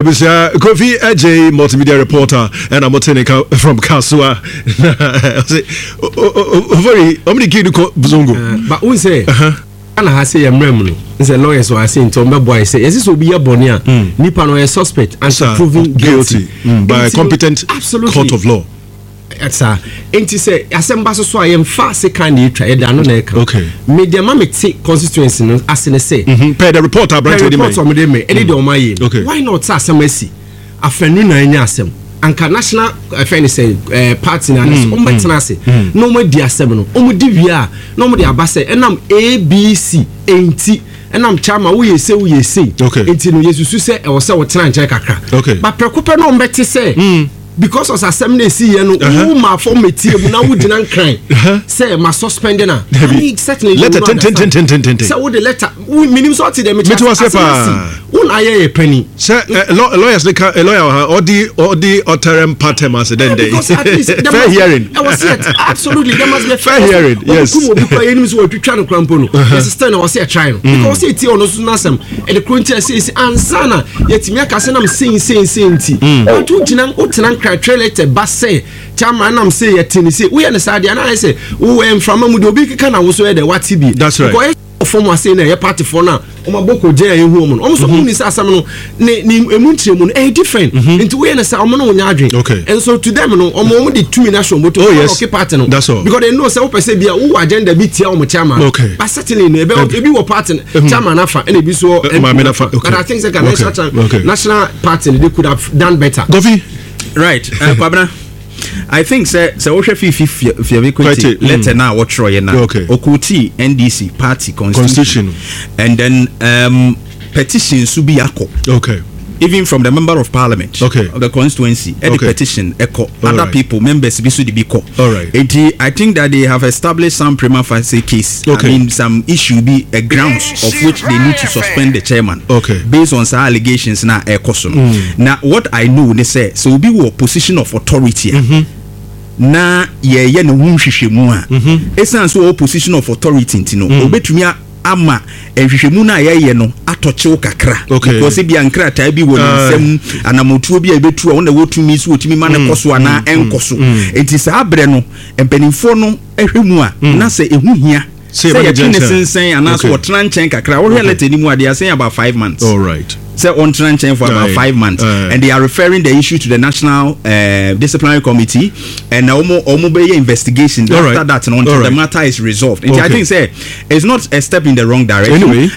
Abusua Kofi Adjei multimedia reporter ɛna mo te ne ka from Kasoa na ɔse ofori ɔmo de kii no kɔ Zongo. Ba n sɛ Ghana ha sɛ yɛ mmerɛ mu no n sɛ lawyers wɔ ase nti ɔmo bɛ boa yɛ sɛ yɛsɛ sɛ obi yɛ bɔne a nipa no ɔyɛ suspect until proven guilty by a competent court of law. Saa. Enti sɛ asɛm ba so so a, yɛmfa sekan na etwa, yɛde ano na ɛka. Okay. Me deɛ ma me te constituency no ase ne sɛ. Mm -hmm. Pɛ the report aberante de mɛ. Report ɔmo de mɛ, ɛne deɛ ɔmo ayɛ. Okay. Why not sɛ asɛm asi? Afɛnu na anya asɛm. Anka national ɛfɛn ne sɛ ɛɛ party na anase ɔmo bɛtena ase na ɔmo adi asɛm no. Ɔmo di wie a na ɔmo de aba sɛ ɛnam ABC enti ɛnam chairman woyɛ sei woyɛ sei. Okay. Enti no yɛsusu sɛ ɛwɔ sɛ wɔtena nkyɛn kakra. Okay. Ba prɛko pɛ na ɔmo bɛte sɛ. Because of asɛm na esi yɛ no, wo ma fam metie mu na wo gyina nkran sɛ ma suspend na. I mean certainly you letter will not understand. tententententen. Sɛ wo de letter, wo minim sɛ ɔte deɛ mekyerɛ Mete wase asɛm paa. asi. Wo na ayɛ yɛ panyin. Sɛ eh, law- lawyers ne ka eh, lawyer wɔ ha ɔdi ɔdi ɔtɛrɛm patɛm ase dɛn dɛn. Because at least there Fair must be- hearing. Ɛwɔ sɛ absolutely there must be a Fair hearing, yes. Obi kum obi kura yɛnim sɛ wɔatwitwa no kura mpo no. Yɛsɛ still na wɔsɛ yɛtry no. Because wɔsɛ etie ɔno nso n'asɛm. Ɛde kuro nti ɛsɛ esi ansa na yɛtumi aka sɛ nam sei sei sei nti. But wogyina wotena nkratwerɛ lɛtɛ ba sɛ chairman nam sei yɛte ne sei woyɛ ne saa deɛ anaa ayɛ sɛ wowɔ mframa mu deɛ obi keka na wo so yɛ dɛ wate bi. That's right. Because fam ase na ɛyɛ partyfoɔ no a wɔn abɔ kɔ gyɛn a ehu wɔn no wɔn nso wɔn ni sɛ asɛm no ne ne emu nkyerɛmu no ɛyɛ different mm-hmm. nti woyɛ no sɛ wɔn no wɔn nyɛ adwene okay and so to them no wɔn wɔn de tumi na ahyɛ wɔn bɔtɔ oh yes wɔn party no that's all because they know sɛ wopɛ sɛ bi a wowɔ agenda bi tia wɔn chairman okay but certainly no ebe ebi wɔ party no mm-hmm. chairman afa ɛna ebi so eh, maame nafa okay but I think sɛ ka national okay. national party they could have done better. Kofi right uh, Kwabena. I think sɛ sɛ wohwɛ Fifi Fiavi Kwete letter na wɔtwerɛeɛ na ɔkootii NDC party constitution and then um, petition nso bi akɔ. Okay. Even from the member of parliament okay. of the constituency, ɛde okay. petition ɛkɔ. Other right. people members bi so de bi kɔ. All right. Eti I think that they have established some prima facie case. Okay. I mean some issue bi a grounds of which they need to suspend the chairman. Okay. Based on saa allegations na ɛkɔ so no. Mm. Na what I know ne sɛ sɛ obi wɔ position of authority a. Mm -hmm. na yɛyɛ ne ho nhwehwɛmu a ɛsiane sɛ ɔwɔ position of authority nti no obɛtumi mm. ama nhwehwɛmu no a yɛyɛ no atɔ kyew kakra okay. because ebia nkrataa bi wɔ ne nsam anamotuo bi a ɛbɛtu a wɔn na wɔtumi so wɔtumi ma no kɔ so anaa ɛnkɔ so nti saa berɛ no mpanimfoɔ no hwɛ mu a na sɛ ɛho hia sɛ yɛtwe ne sensɛn anaasɛ ɔtena nkyɛn kakra wohwɛ letter no mu a they are saying about 5 months all right sɛ ɔntena nkyɛn for about 5 months and they are referring the issue to the national disciplinary committee and ɔmo bɛyɛ investigation All after right. that no, until All the right. matter is resolved. Nti I Okay. think sɛ it's not a step in the wrong direction. Anyway.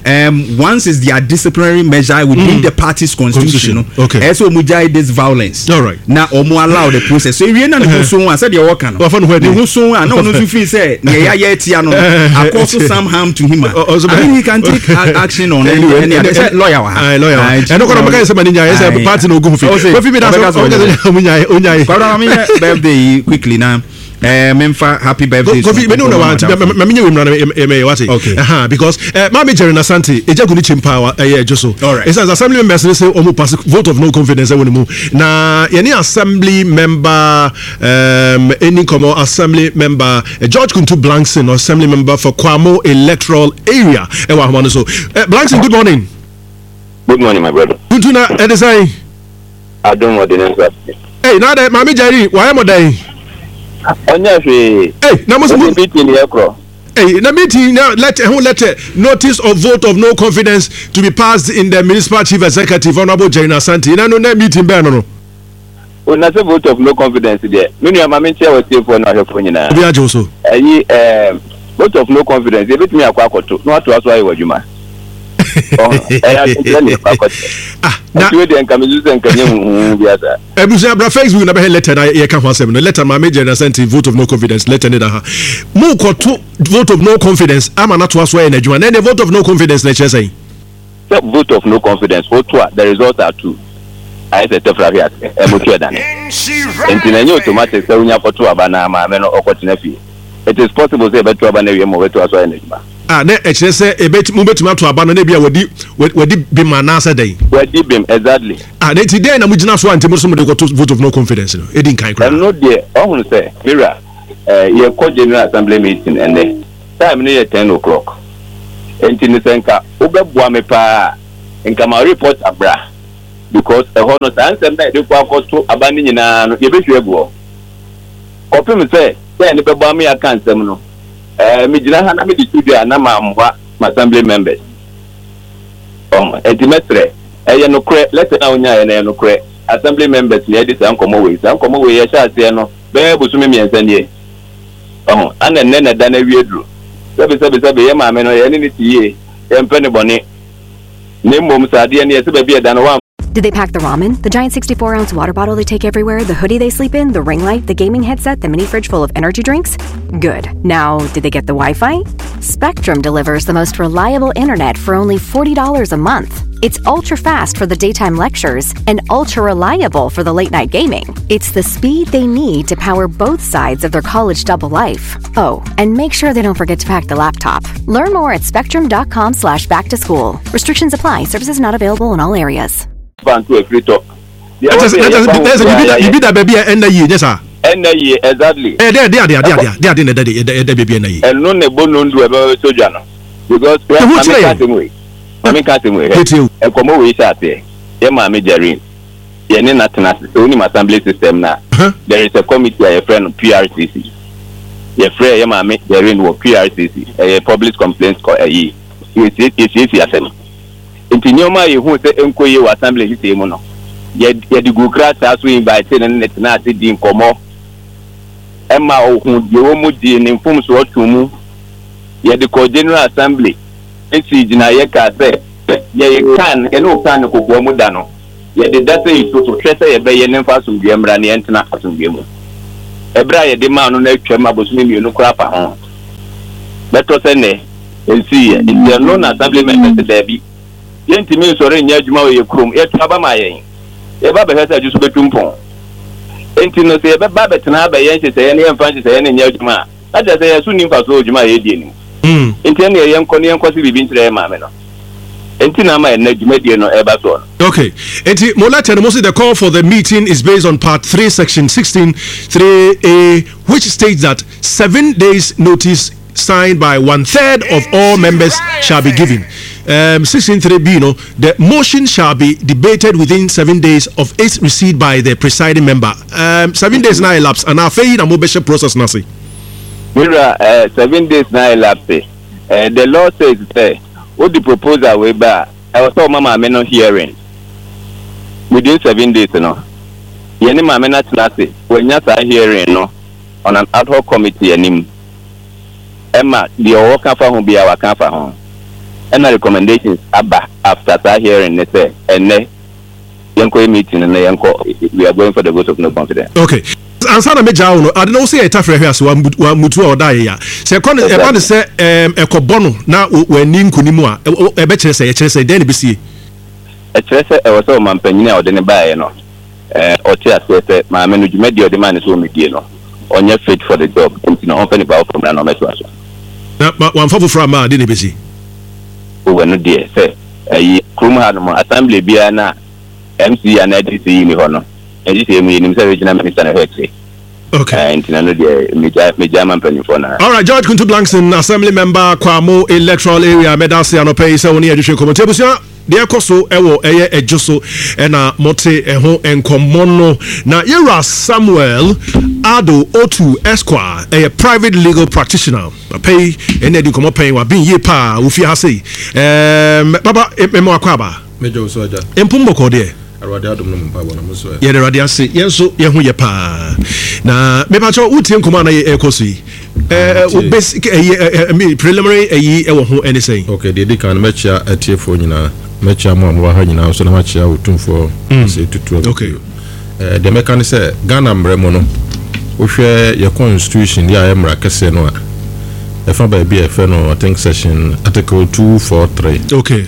Once it's their disciplinary measure within the party's constitution, Constitution. no, Okay. ɛsɛ ɔmo gyae this violence. All right. Na ɔmo allow the process. So ewie na ne ho so a sɛdeɛ ɔka no. Wafa ne ho adi. Ne ho so a na ɔno nso feel sɛ nea yɛayɛ atia no no akɔ so some harm to him a. I mean he can take action on any Anyway, any other. Sɛ lawyer wɔ ha. Aye, lawyer wɔ ha. Aye, Ɛno kɔ na ɔbɛka sɛ ma ne nyae sɛ Aye. party na ogu ho fi. Ɔse, Kofi mi da so ɔbɛka sɛ ɔbɛka sɛ ɔnyae ɔnyae. Kwabena ma menyɛ birthday yi quickly na eh, memfa happy birthday Kofi mene wo na wa nti ma menyɛ wei mmra na mɛyɛ wate. Okay. Aha, because eh, maame Jerry Nasante ɛgya gu ne kyɛm paa ɛyɛ adwo so. All right. Ɛsiane sɛ assembly members ne sɛ ɔmo pass vote of no confidence ɛwɔ ne mu. Na yɛne assembly member ɛni nkɔmmɔ assembly member George Kuntu Blankson, assembly member for Kwamo electoral area ɛwɔ ahoma no so. Blankson, good morning. Good morning, my brother. Kuntu na ɛde sɛn? Adom wɔde ne nsa ase. Ei, na adɛn, Maame Jerry, wayɛ mo dɛn? Ɔnyɛ hwee. Ei, na mo sɛ mo. Ɔde meeting yɛ korɔ. Ei, na meeting na letter ɛho letter notice of vote of no confidence to be passed in the municipal chief executive Honourable Jerry Asante. Na no na meeting bɛn no no. O na sɛ vote of no confidence deɛ, me nua ma menkyia w'atiefoɔ ne w'ahwɛfoɔ nyinaa. Obi agye wo so. Ɛyi ɛɛm vote of no confidence yɛbɛtumi akɔ akɔto na watoa so ayɛ w'adwuma. Ɔho ɛyɛ adwenkyerɛ na yɛkɔ akɔkyerɛ. Ah, na Nti wei deɛ nka mesu sɛ nka nyɛ huhuhu bi asa. Abusua bra Facebook na bɛhɛ letter na yɛka ho asɛm no. Letter maame Jerry Asante vote of no confidence letter ne da ha. Mo kɔto vote of no confidence ama no atoa so ayɛ n'adwuma. Na ɛnɛ vote of no confidence na ɛkyerɛ sɛn? Sɛ vote of no confidence woto a the results are two. Ayɛ sɛ tɛfra hwe ase ɛmoto ɛdane. Nti na ɛnyɛ automatic sɛ wonya kɔto aba na maame no ɔkɔtena fie. It is possible sɛ yɛbɛto aba no awie ma ɔbɛtoa so ayɛ n'adwuma. Ah, na ɛkyerɛ sɛ ebet mobɛtumi ato aba no na ebia wadi wadi bem anaasɛ dɛn? Wadi bem, exactly. Ah, na nti dɛn na mogyina so a nti mo nso mode kɔto vote of no confidence no? Edi nkan koraa. Ɛno deɛ, ɔhunu sɛ, me wura, eh, yɛkɔ General Assembly meeting ɛnnɛ, time no yɛ 10 o'clock. Nti no sɛ nka wobɛboa me paa a, nka ma report abra. Because ɛhɔ no, saa nsɛm no a yɛde kɔ akɔto aba no nyinaa no, yɛbɛhwie agu hɔ. Kɔpem sɛ sɛ yɛne bɛbɔ ama yɛaka nsɛm no, ɛɛ, megyina ha na mede to dwa a, na mammoa m'assembly members. Ɔho, enti mɛsrɛ, ɛyɛ nokorɛ, letter no a wonyaeɛ no, ɛyɛ nokorɛ. Assembly members na yɛadi saa nkɔmmɔ wei. Saa nkɔmmɔ wei yɛhyɛɛ aseɛ no, bɛyɛ bosome mmiɛnsa nie. Ɔho, ana nnɛ na ɛda no awie duru. Sɛbe, sɛbe, sɛbe, yɛn maame no, yɛne no te yie, yɛmpɛ no bɔne. Na mmom sɛ adeɛ no, yɛsɛ baabi a ɛda no, woamfa. Did they pack the ramen, the giant 64 ounce water bottle they take everywhere, the hoodie they sleep in, the ring light, the gaming headset, the mini fridge full of energy drinks? Good. Now, did they get the Wi Fi? Spectrum delivers the most reliable internet for only $40 a month. It's ultra fast for the daytime lectures and ultra reliable for the late night gaming. It's the speed they need to power both sides of their college double life. Oh, and make sure they don't forget to pack the laptop. Learn more at spectrum.com slash back to school. Restrictions apply. Services not available in all areas. Biribi da baabi a ɛnna yie nyɛ saa. Ɛnna yie exactly. Ɛyɛ dɛ ɛde ade ade ade ade ade na ɛda ɛda baabi ɛnna yie. Ɛno na ɛbɔ nondu a ɛbɛba bɛtɔ dwa no because hwɛ maame ka asɛm wei maame ka asɛm wei hwɛ nkɔmɔ wei hyɛ aseɛ yɛ maame Jareen yɛne no atena ase sɛ wonim assembly system no a there is a committee a yɛfrɛ no PRCC yɛfrɛ yɛ maame Jareen wɔ PRCC ɛyɛ public complaints kɔ ɛyi yɛsiesie asɛm. Enti nneɛma a yehuu sɛ ɛnkɔ yie wɔ Assembly nhyehyɛe mu no, yɛde guu krataa so invitee no ne no tenaa ase dii nkɔmmɔ ma ohuu deɛ ɛwɔ mu gyee ne mfomsoɔ too mu. Yɛde kɔɔ General Assembly sii gyinaeɛ kaa sɛ, Yɛyɛ kan, yɛne wo kaa no kokoa mu da no, yɛde da sɛ yi to so hwɛ sɛ yɛbɛyɛ ne mfa asomdwoeɛ mmra na yɛntena asomdwoeɛ mu. Ɛberɛ a yɛde maa no no atwam abosome mmienu koraa fa ho. Bɛtɔ sɛ nnɛ. Ɛnsiiɛ. Nti ɛno na Assembly members se daabi, yɛntumi nsɔre nyɛ adwuma wɔ yɛ kurom, yɛto aba ma yɛn, yɛba bɛhwɛ sɛ adwo so bɛtu mpɔn. Nti no sɛ yɛbɛba abɛtena ha abɛyɛ nhyehyɛeɛ na yɛmfa nhyehyɛeɛ no nyɛ adwuma a, na kyerɛ sɛ yɛn so nni mfasoɔ wɔ dwuma a yɛredie no mu. Nti ɛnneɛ yɛnkɔ na yɛnkɔse biribi nkyerɛ yɛn maame no. Nti na ama ɛnnɛ dwumadie no reba soɔ no. Okay, nti mo letter no mo se the call for the meeting is based on part 3 section 16 3A which states that 7 days notice signed by one third of all members shall be given. 16.3b, no, the motion shall be debated within 7 days of its receipt by the presiding member. 7 days now elapsed, and afei na mo bɛhyɛ process na se. Mira, 7 days na elapse. The law says sɛ wode proposal wei ba a, ɛwɔ sɛ ɔma maame no hearing within 7 days no. Yɛne maame no atena ase, wanya saa hearing no on an ad hoc committee anim. Ɛma deɛ ɔwɔ ka fa ho biara waka afa ho. Ɛna recommendations aba after saa hearing ne sɛ ɛnnɛ yɛnkɔyɛ meeting no na yɛnkɔ, we are going for the vote of no confidence. Okay. Ansa na megyaa wo no, ade no wo sɛ yɛ tafrɛ hwɛ ase wamutu a ɔda yɛ ya. Sɛ ɛkɔ no ɛba no sɛ ɛkɔbɔ no na w'ani nkonim a, ɛbɛkyerɛ sɛ ɛkyerɛ sɛ dɛn na ɛbɛsie? Ɛkyerɛ sɛ ɛwɔ sɛ ɔmampanin a ɔde no baeɛ no ɔte aseɛ sɛ maame no dwumadie a ɔde maa no sɛ ɔmmɛdie no ɔnyɛ fit for the job nti no ɔmfa nipa foforɔ mmra na ɔmmɛtoa so. Na wamfa foforɔ amma a, dɛn na ɛbɛsi? Oh ɛno deɛ sɛ ɛyi kurom ha nom assembly biara na MC anaa DC yi nni hɔ no nhyehyɛɛ mu yɛnim sɛ regional minister na ɛhwɛ akyire. Okay. Nti na no deɛ megya megya ma mpanyinfoɔ na. All right, George Kuntu Blankson, Assembly Member, Kwamo Electoral Area, mɛda ase anɔpɛ yi sɛ wo ne yɛdwetwe nkɔmmɔ. Nti abusua, deɛ ɛkɔ so ɛwɔ ɛyɛ ɛdwo so ɛna mote ɛho nkɔmmɔ no. Na yɛwura Samuel Ado Otu Esquire, ɛyɛ private legal practitioner. Papa yi ɛna adi nkɔmmɔ pɛn, waben yie paa, ofie ha sei. Ɛɛm, papa, mema wakɔ aba. Mɛgya wo so agya. Mpom bɔkɔɔ deɛ. Awurade adom no mu mpaebɔ na mo nso ɛ. Yɛda Awurade ase, yɛn nso yɛn ho yɛ paa. Na mepakyɛw wotie nkɔmɔ a na ɛrekɔ so yi. Ɛɛ wo basic ɛyi ɛ ɛ preliminary ɛyi ɛwɔ ho ɛne sɛn? Okay, deɛ edi kan no mɛkyia atiefoɔ nyinaa, mɛkyia mo a mowɔ ha nyinaa nso na makyia Otumfoɔ Osei Tutu Abudu. Okay. Ɛɛ deɛ mɛka ne sɛ Ghana mmara mu no, wohwɛ yɛ constitution yɛ a ɛyɛ mmara kɛseɛ no a, ɛfa baabi a yɛfrɛ no I think section article 243. Okay.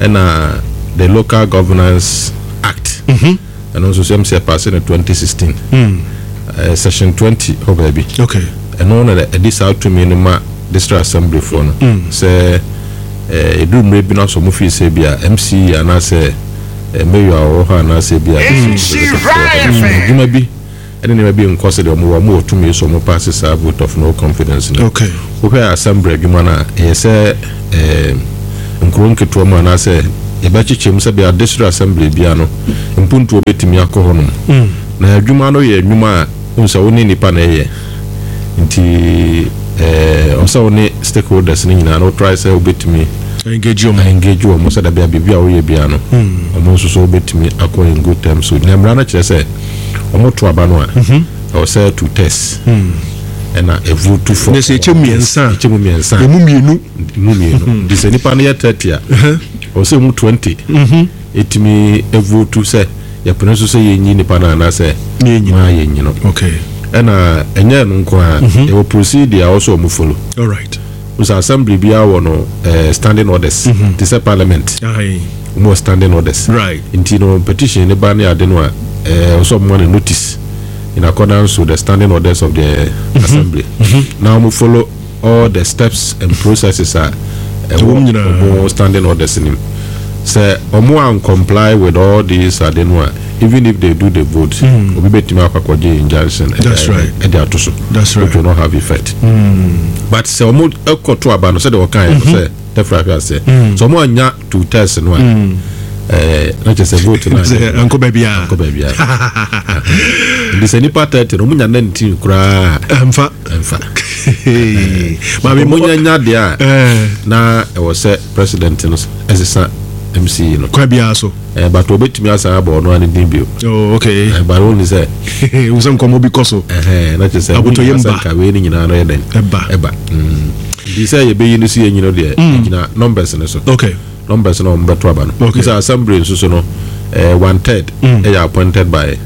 Ɛna the Local Governance Act, ɛno nso sɛm sɛ ɛpaase no 2016, section 20 hɔ baabi. Ɛno na ɛde saa tumi no ma district assembly foɔ no sɛ ɛduru mmerɛ bi no asɔ mo fii sɛ bi a MC anaasɛ mayor a ɔwɔ hɔ anaasɛ bi a district executive foɔ adwuma bi ɛne nneɛma bi nkɔ sɛdeɛ wɔn wɔ, wɔn wɔ tumi sɛ wɔn paase saa vote of no confidence no. Okay. Wohwɛ assembly adwuma no a, ɛyɛ sɛ ɛɛ nkuro nketewa mu anaasɛ yɛbɛkyekyɛ mu sɛbea district assembly bia no mpuntuo bɛtumi akɔ hɔ nom. Na adwuma no yɛ nnwuma a wohu sɛ wo ne nnipa na ɛyɛ nti ɛɛ ɔsɛ wo ne stakeholders no nyinaa no wo try sɛ wobɛtumi engage wɔn engage wɔn sɛ dabi a biribi a woyɛ biara no wɔn nso so wobɛtumi akɔ in good terms so na mmara no kyerɛ sɛ wɔn to aba no a ɛwɔ sɛ two tests ɛna ɛvote for Ne sɛ ɛkyɛ mu mmiɛnsa a ɛkyɛ mu mmiɛnsa emu mmienu emu mmienu nti sɛ nipa no yɛ 30 a ɛwɔ sɛ emu 20 ɛtumi ɛvote sɛ yɛpene so sɛ yɛnyi nipa no anaasɛ maa yɛnyi no. Okay. Ɛna ɛnyɛ ɛno nko ara, yɛwɔ procedure a ɛwɔ sɛ wɔn follow. All right. Sɛ assembly biara wɔ no eh, standing orders te sɛ parliament. Aye. Wɔn wɔ standing orders. Right. Nti no petition ne ba ne ade no a ɛwɔ sɛ wɔn ma no notice in accordance with the standing orders of the assembly. Na wɔn follow all the steps and processes a ɛwɔ ɔmo standing orders no mu. Sɛ ɔmo an comply with all these ade no a, even if they do the vote, obi betumi akɔ akɔgye injunction ɛde ato so, which will not have effect. But sɛ ɔmo ɛkɔ to aba no sɛdeɛ ɔka yɛ no sɛ tɛfra hwɛ aseɛ, sɛ ɔmo anya two thirds no a, ɛɛ na kyerɛ sɛ vote no ankɔ baabi a ankɔ baabi a. Nti sɛ nipa 30 no ɔmo nya 19 koraa. Ɛnfa. Ɛnfa. Maame mo nya nya deɛ a na ɛwɔ sɛ president no ɛsesa MCE no. Kwan biara so. Ɛɛ but obetumi asan abɔ ɔno ani din bio. Oh okay. Ɛɛ but wɔn ni sɛ. Wosɛ nkɔmɔ bi kɔ so. Ɛhɛn na kyerɛ sɛ. Abotɔyam ba. Nka wei ne nyinaa no yɛ dɛn. Ɛba. Ɛba. Nti sɛ yɛbɛyi no si yɛnyi no deɛ. Ɛgyina numbers no so. Okay. Numbers no wɔn bɛto aba no. Okay. Sɛ assembly nso so no ɛɛ one third. Ɛyɛ appointed by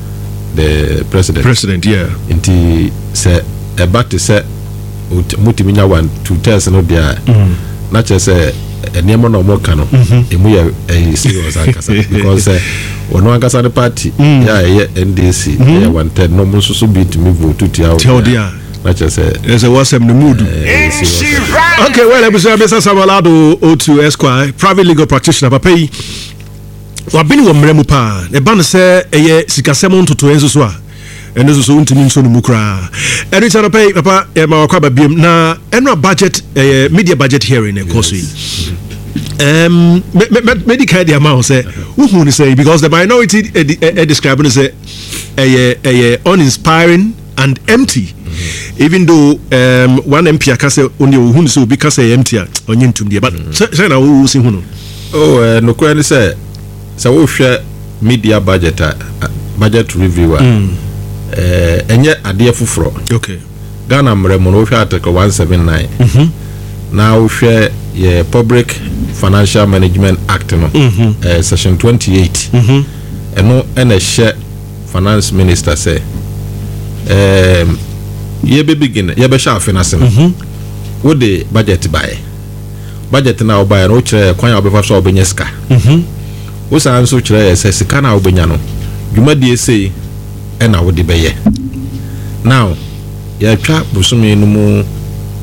the president. President yeah. Nti sɛ ɛba te sɛ motumi nya one two thirds no deɛ a na kyerɛ sɛ nneɛma na wɔn ka no emu yɛ ɛyɛ serious ankasa because sɛ ɔno ankasa ne party yɛ a ɛyɛ NDC ɛyɛ one third na wɔn nso so bi tumi vote tia wo deɛ a na kyerɛ sɛ ɛsɛ wɔsɛm no mood. Okay, well, ebusua bisa Samuel Ado Otu Esquire, private legal practitioner, papa yi wabene wɔ mmerɛ mu paa. Ɛba no sɛ ɛyɛ sikasɛm ntotoeɛ nso so a, ɛno nso so wontumi nso no mu koraa. Ɛno nti anɔpa yi, papa, yɛma wakɔ aba biom na ɛno a budget, ɛyɛ media budget hearing na ɛkɔ so yi. Mɛdi kan de ama wo sɛ wohu no sɛ, because the minority describe no sɛ ɛyɛ uninspiring and empty. Even though one MP aka sɛ ɔne ɔhu no sɛ obi ka sɛ ɛyɛ empty a ɔnye ntum deɛ, but sɛ na wo si hu no. Oh, nokorɛ ne sɛ, sɛ wohwɛ media budget a, budget review a, ɛnyɛ adeɛ foforɔ. Okay. Ghana mmerɛ mu no, wohwɛ Article 179, na wohwɛ yɛ Public Financial Management Act no, Section 28, ɛno ɛna ɛhyɛ Finance Minister sɛ, yɛbɛ begin, yɛbɛhyɛ afe no ase no, wode budget baeɛ. Budget no a wobaeɛ no, wokyerɛ yɛ kwan a wobɛfa so a wobɛnya sika. Wosan nso kyerɛ yɛ sɛ sika no a wobɛnya no, dwumadie sei ɛna wode bɛyɛ. Now, yɛatwa bosome no mu,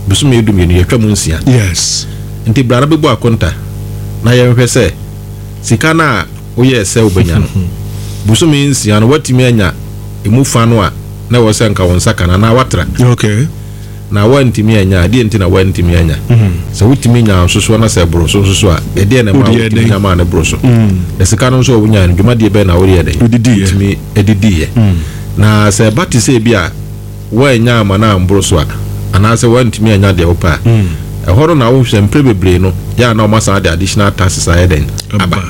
bosome 12, yɛatwa mu 6. Yes. Nti bra na bɛbu akonta na yɛnhwɛ sɛ sika no a woyɛɛ sɛ wobɛnya no, bosome 6 no, woatumi anya emu fa no a na ɛwɔ sɛ nka wo nsa ka no anaa woatra. Okay. Na woantumi annya a, ɛdeɛn nti na woantumi annya? Sɛ wotumi nyaa nso so na sɛ ɛboro so nso so a, ɛdeɛn na ɛmaa wotumi nya maa no boro so? Na sika no nso a wonyae no, dwumadie bɛn na woyɛɛ dɛn? Wotumi didiiɛ. Na sɛ ɛba te sɛ ebi a woannya amma no amboro so a, anaasɛ woantumi annya deɛ wopɛ a, ɛhɔ no na wohu sɛ mprɛ bebree no, yɛ a na wɔasan de additional taxes ayɛ dɛn? Aba.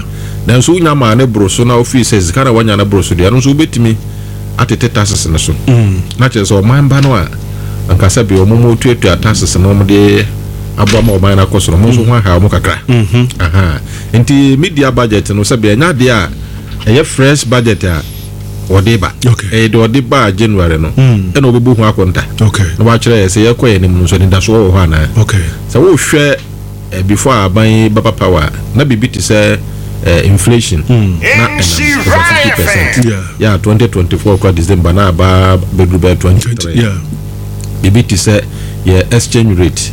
Nanso wonya maa no boro so na wofii sɛ sika no a woanya no boro so deɛ, ɛno nso wobɛtumi atete taxes no so. Na kyerɛ sɛ ɔman ba no a anka sɛ bia wɔn tuatua taxes no wɔn de aboa ma ɔman no akɔ so no, wɔn nso ho aha wɔn kakra. Aha. Nti media budget no sɛ bia ɛnyɛ adeɛ a ɛyɛ fresh budget a wɔde ba. Ɛyɛ deɛ ɔde ba January no ɛna wɔbɛbu ho akonta. Na wɔakyerɛ yɛ sɛ yɛkɔ yɛn anim no nso anidasoɔ wɔ hɔ anaa. Sɛ wohwɛ before a aban yi bɛba power a, na biribi te sɛ inflation na ɛnam over 50%. Yeah, 2024 kora December na aba bɛduru bɛyɛ 23. Biribi te sɛ yɛ exchange rate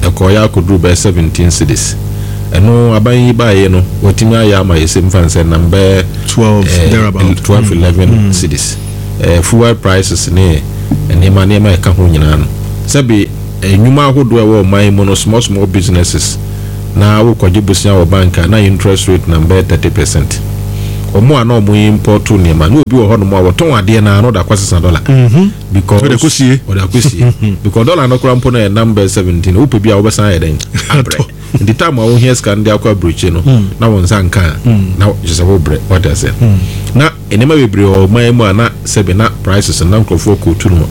ɛkɔɔyɛ akɔduru bɛyɛ 17 cedis. Ɛno aban yi baeɛ no watumi ayɛ ama yɛ sɛ mfa nsɛ nam bɛyɛ 12 thereabout. 12 11 cedis. Fuel prices ne nneɛma nneɛma ɛka ho nyinaa no, sɛbe nnwuma ahodoɔ a ɛwɔ ɔman yi mu no, small small businesses, Na wokɔgye bosea wɔ bank a, na interest rate nam bɛyɛ 30%. Wɔn a na wɔn import nneɛma, na obi wɔ hɔnom a wɔtɔn adeɛ no ara na ɔde akɔsesa dollar. Because Ɔde akɔsie. Ɔde akɔsie. Because dollar no koraa mpo no ɛnam bɛyɛ 17, wopɛ bi a wobɛsan ayɛ dɛn? Abrɛ. Nti time a wohia sika no de akɔ aburokyire no, na wo nsa nka a, na kyerɛ sɛ wobrɛ. Wate aseɛ? Na nneɛma bebree wɔ ɔman yi mu a na sɛbe na prices no na nkurɔfoɔ kɔtu no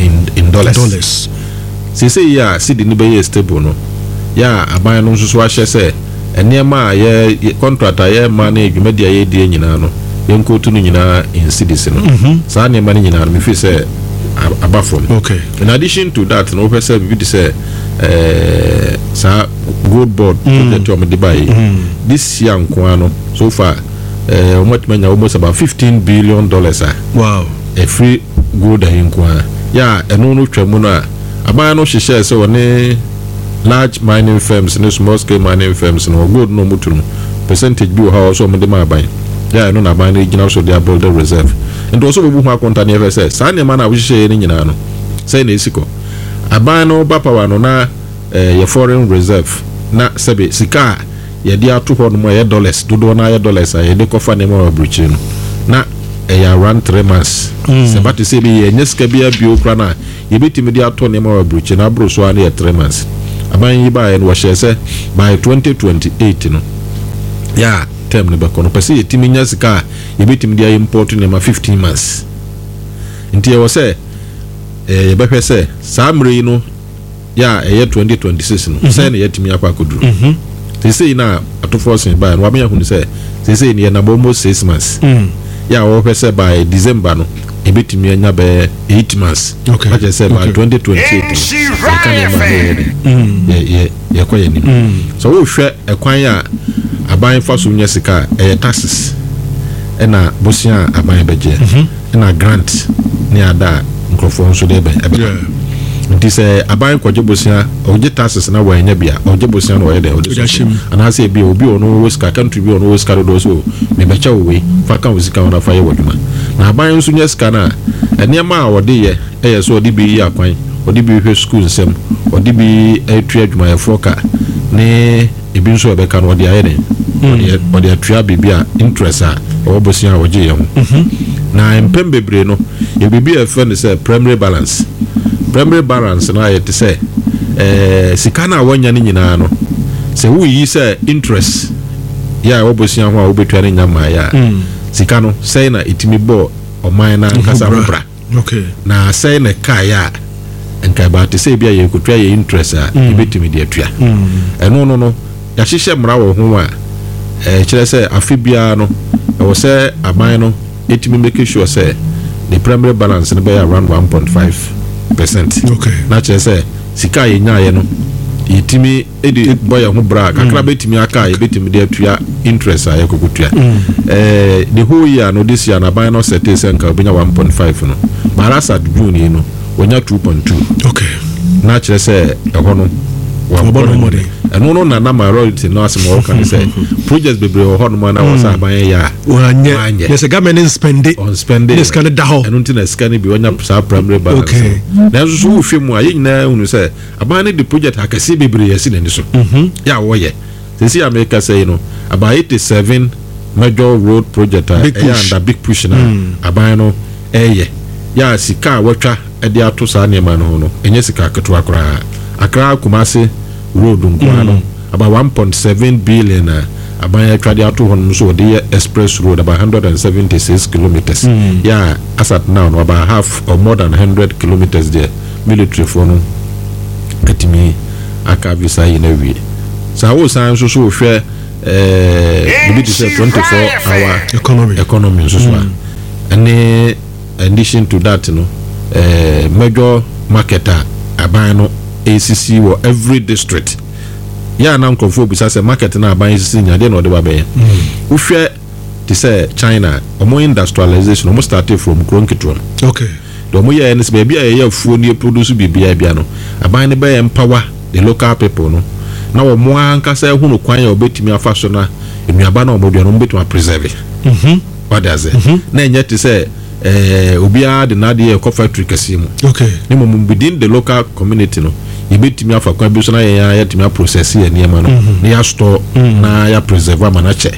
in dollars. Dollars. Seesei yi a cedi no bɛyɛɛ stable no, yɛ a aban no nso so ahyɛ sɛ nneɛma a yɛ contract a yɛma ne dwumadi a yɛredie nyinaa no, yɛnkɔtu no nyinaa in cedis no. Saa nneɛma no nyinaa no, me feel sɛ aba fam. Okay. In addition to that no, wohwɛ sɛ biribi te sɛ eh, saa gold board project a wɔde baeɛ yi, this year nko ara no, so far, eh, wɔatumi anya almost about $15 billion a Wow. ɛfiri gold ayi nko ara. Yɛ a ɛno no twa mu no a, aban no hyehyɛɛ sɛ wɔne large mining firms ne small scale mining firms no, wɔ gold no a wɔtu no, percentage bi wɔ hɔ a wɔwɔ sɛ wɔde ma aban. Yɛ a ɛno na aban no gyina so de abuild reserve. Nti wɔ sɛ wɔbu ho akonta ne yɛhwɛ sɛ saa nneɛma no a wohyehyɛeɛ no nyinaa no, sɛn na ɛsi kɔ. Aban no ba power no na eh, yɛ foreign reserve na sɛbe sika a yɛde ato hɔ nom a ɛyɛ dollars, dodoɔ no ara yɛ dollars a yɛde kɔfa nneɛma wɔ aburokyire no, na ɛyɛ around 3 months. Sɛ ɛba te sɛ ebi yɛnyɛ sika biara bio koraa no a, yɛbɛtumi de atɔ nneɛma wɔ aburokyire no aboro so ara no yɛ 3 months. Aban yi baeɛ no, wɔhyɛɛ sɛ by 2028 no, yɛ a term no bɛkɔ no, pɛ sɛ yɛtumi nya sika a yɛbɛtumi de import nneɛma 15 months. Nti ɛwɔ sɛ yɛbɛhwɛ sɛ saa mmerɛ yi no, yɛ a ɛyɛ 2026 no, sɛn na yɛatumi akɔ akɔduru. Seesei no a atofoɔ sen baeɛ no, wama yɛahunu sɛ seesei no yɛnam almost 6 months. Yɛ a wɔhwɛ sɛ by December no, yɛbɛtumi anya bɛyɛ 8 months. Okay. Na kyerɛ sɛ by 2028 no, yɛka nneɛma a na yɛyɛ dɛ, yɛkɔ yɛn anim. Sɛ wohwɛ ɛkwan a aban fa so nya sika a, ɛyɛ taxes, ɛna bosea a aban bɛgyeɛ, ɛna grant ne ada a nkurɔfoɔ nso de bɛn ɛbɛba. Nti sɛ aban kɔgye bosea, ɔgye taxes na wɔanya bi a, ɔgye bosea na ɔyɛ dɛ ɔde Ɔde ahyɛ mu. Anaasɛ ebi a obi a ɔno wɔ sika, country bi a ɔno wɔ sika dodoɔ so, mebɛkyɛ wo wei, fa ka wo sika ho na fa yɛ w'adwuma. Na aban nso nya sika no a, nneɛma a ɔde yɛ ɛyɛ sɛ ɔde bi yi akwan, ɔde bi hwɛ sukuu nsɛm, ɔde bi atua adwumayɛfoɔ ka, ne ebi nso a ɛbɛka no ɔde ayɛ dɛn, ɔde atua biribi a interest a ɛwɔ bosea a ɔgye yɛ ho. Na mpɛn bebree no, yɛ biribi a yɛfrɛ no sɛ primary balance. Primary balance no ayɛ te sɛ sika no a wɔanya no nyinaa no, sɛ woyi sɛ interest yɛ a ɛwɔ bosea ho a wobɛtua no nya mmaeɛ a, sika no sɛe na ɛtumi bɔɔ ɔman no ankasa ho bra. Na sɛe na ɛkaeɛ a, nka ɛbaa te sɛ ebi a yɛrekɔtua yɛ interest a, yɛbɛtumi de atua. Ɛno no, yɛahyehyɛ mmara wɔ ho a ɛkyerɛ sɛ afe biara no, ɛwɔ sɛ aban no ɛtumi make sure sɛ the primary balance no bɛyɛ around 1.5%. Na kyerɛ sɛ sika a yɛnyaeɛ no, yɛtumi de bɔ yɛn ho bra a, kakra bɛtumi aka a yɛbɛtumi de atua interest a yɛkɔkɔtua. The whole year no, this year no, aban no sɛtee sɛ nka obɛnya 1.5 no, but as at June yi no, wɔnya 2.2. Na kyerɛ sɛ ɛhɔ no, Wɔabɔ ne ho mmɔden. Ɛno no na minority no asɛm a wɔka ne sɛ projects bebree wɔ hɔnom a na wɔ sɛ aban yɛ a Wɔanyɛ. Wɔanyɛ. Yɛ sɛ government no nspende. Ɔnspende. Ne sika no da hɔ. Ɛno nti na sika no bi wɔnya saa primary balance no. Nanso so wohwɛ mu a, yɛn nyinaa hunu sɛ aban no de project akɛseɛ bebree asi n'ani so. Yɛ a wɔyɛ. Seesei a meka sɛ yi no, about 87 major road project a Big ɛyɛ push. under big push na aban no ɛyɛ. Yɛ a sika a wɔatwa de ato saa nneɛma no ho no, ɛnyɛ sika ketewa koraa. Accra Kumasi road nko ara no, about 1.7 billion a aban atwa de ato hɔ nom nso wɔde yɛ express road about 176 kilometres. Yɛ a as at now no, about half or more than 100 kilometres deɛ military foɔ no atumi aka visa yi no awie. Saa wosan nso so wohwɛ biribi te sɛ 24 hour Economy. economy nso so a, ɛne addition to that no, major market a aban no esisi wɔ every district. Yɛ a na nkurɔfoɔ bisa sɛ market no a aban esisi nya deɛ na ɔde ba bɛyɛ. Wohwɛ te sɛ China, ɔmo industrialization, ɔmo started from kuro nketewa mu. Deɛ ɔmo yɛɛ no sɛ baabi a yɛyɛ afuo ne yɛproduce biribiara bia no, aban no bɛyɛ empower the local people no na wɔn ankasa ehunu kwan a wɔbɛtumi afa so na nnuaba na wɔn dua no wɔn bɛtumi apreserve. Wade ase. Na ɛnyɛ te sɛ obiara de n'adeɛ ɛkɔ factory kɛseɛ mu. Ne mmom within the local community no, Yɛbɛtumi afa kwan bi so na yɛn ara yɛatumi aprocess yɛn nneɛma no na yɛastore na yɛapreserve ama no akyɛ.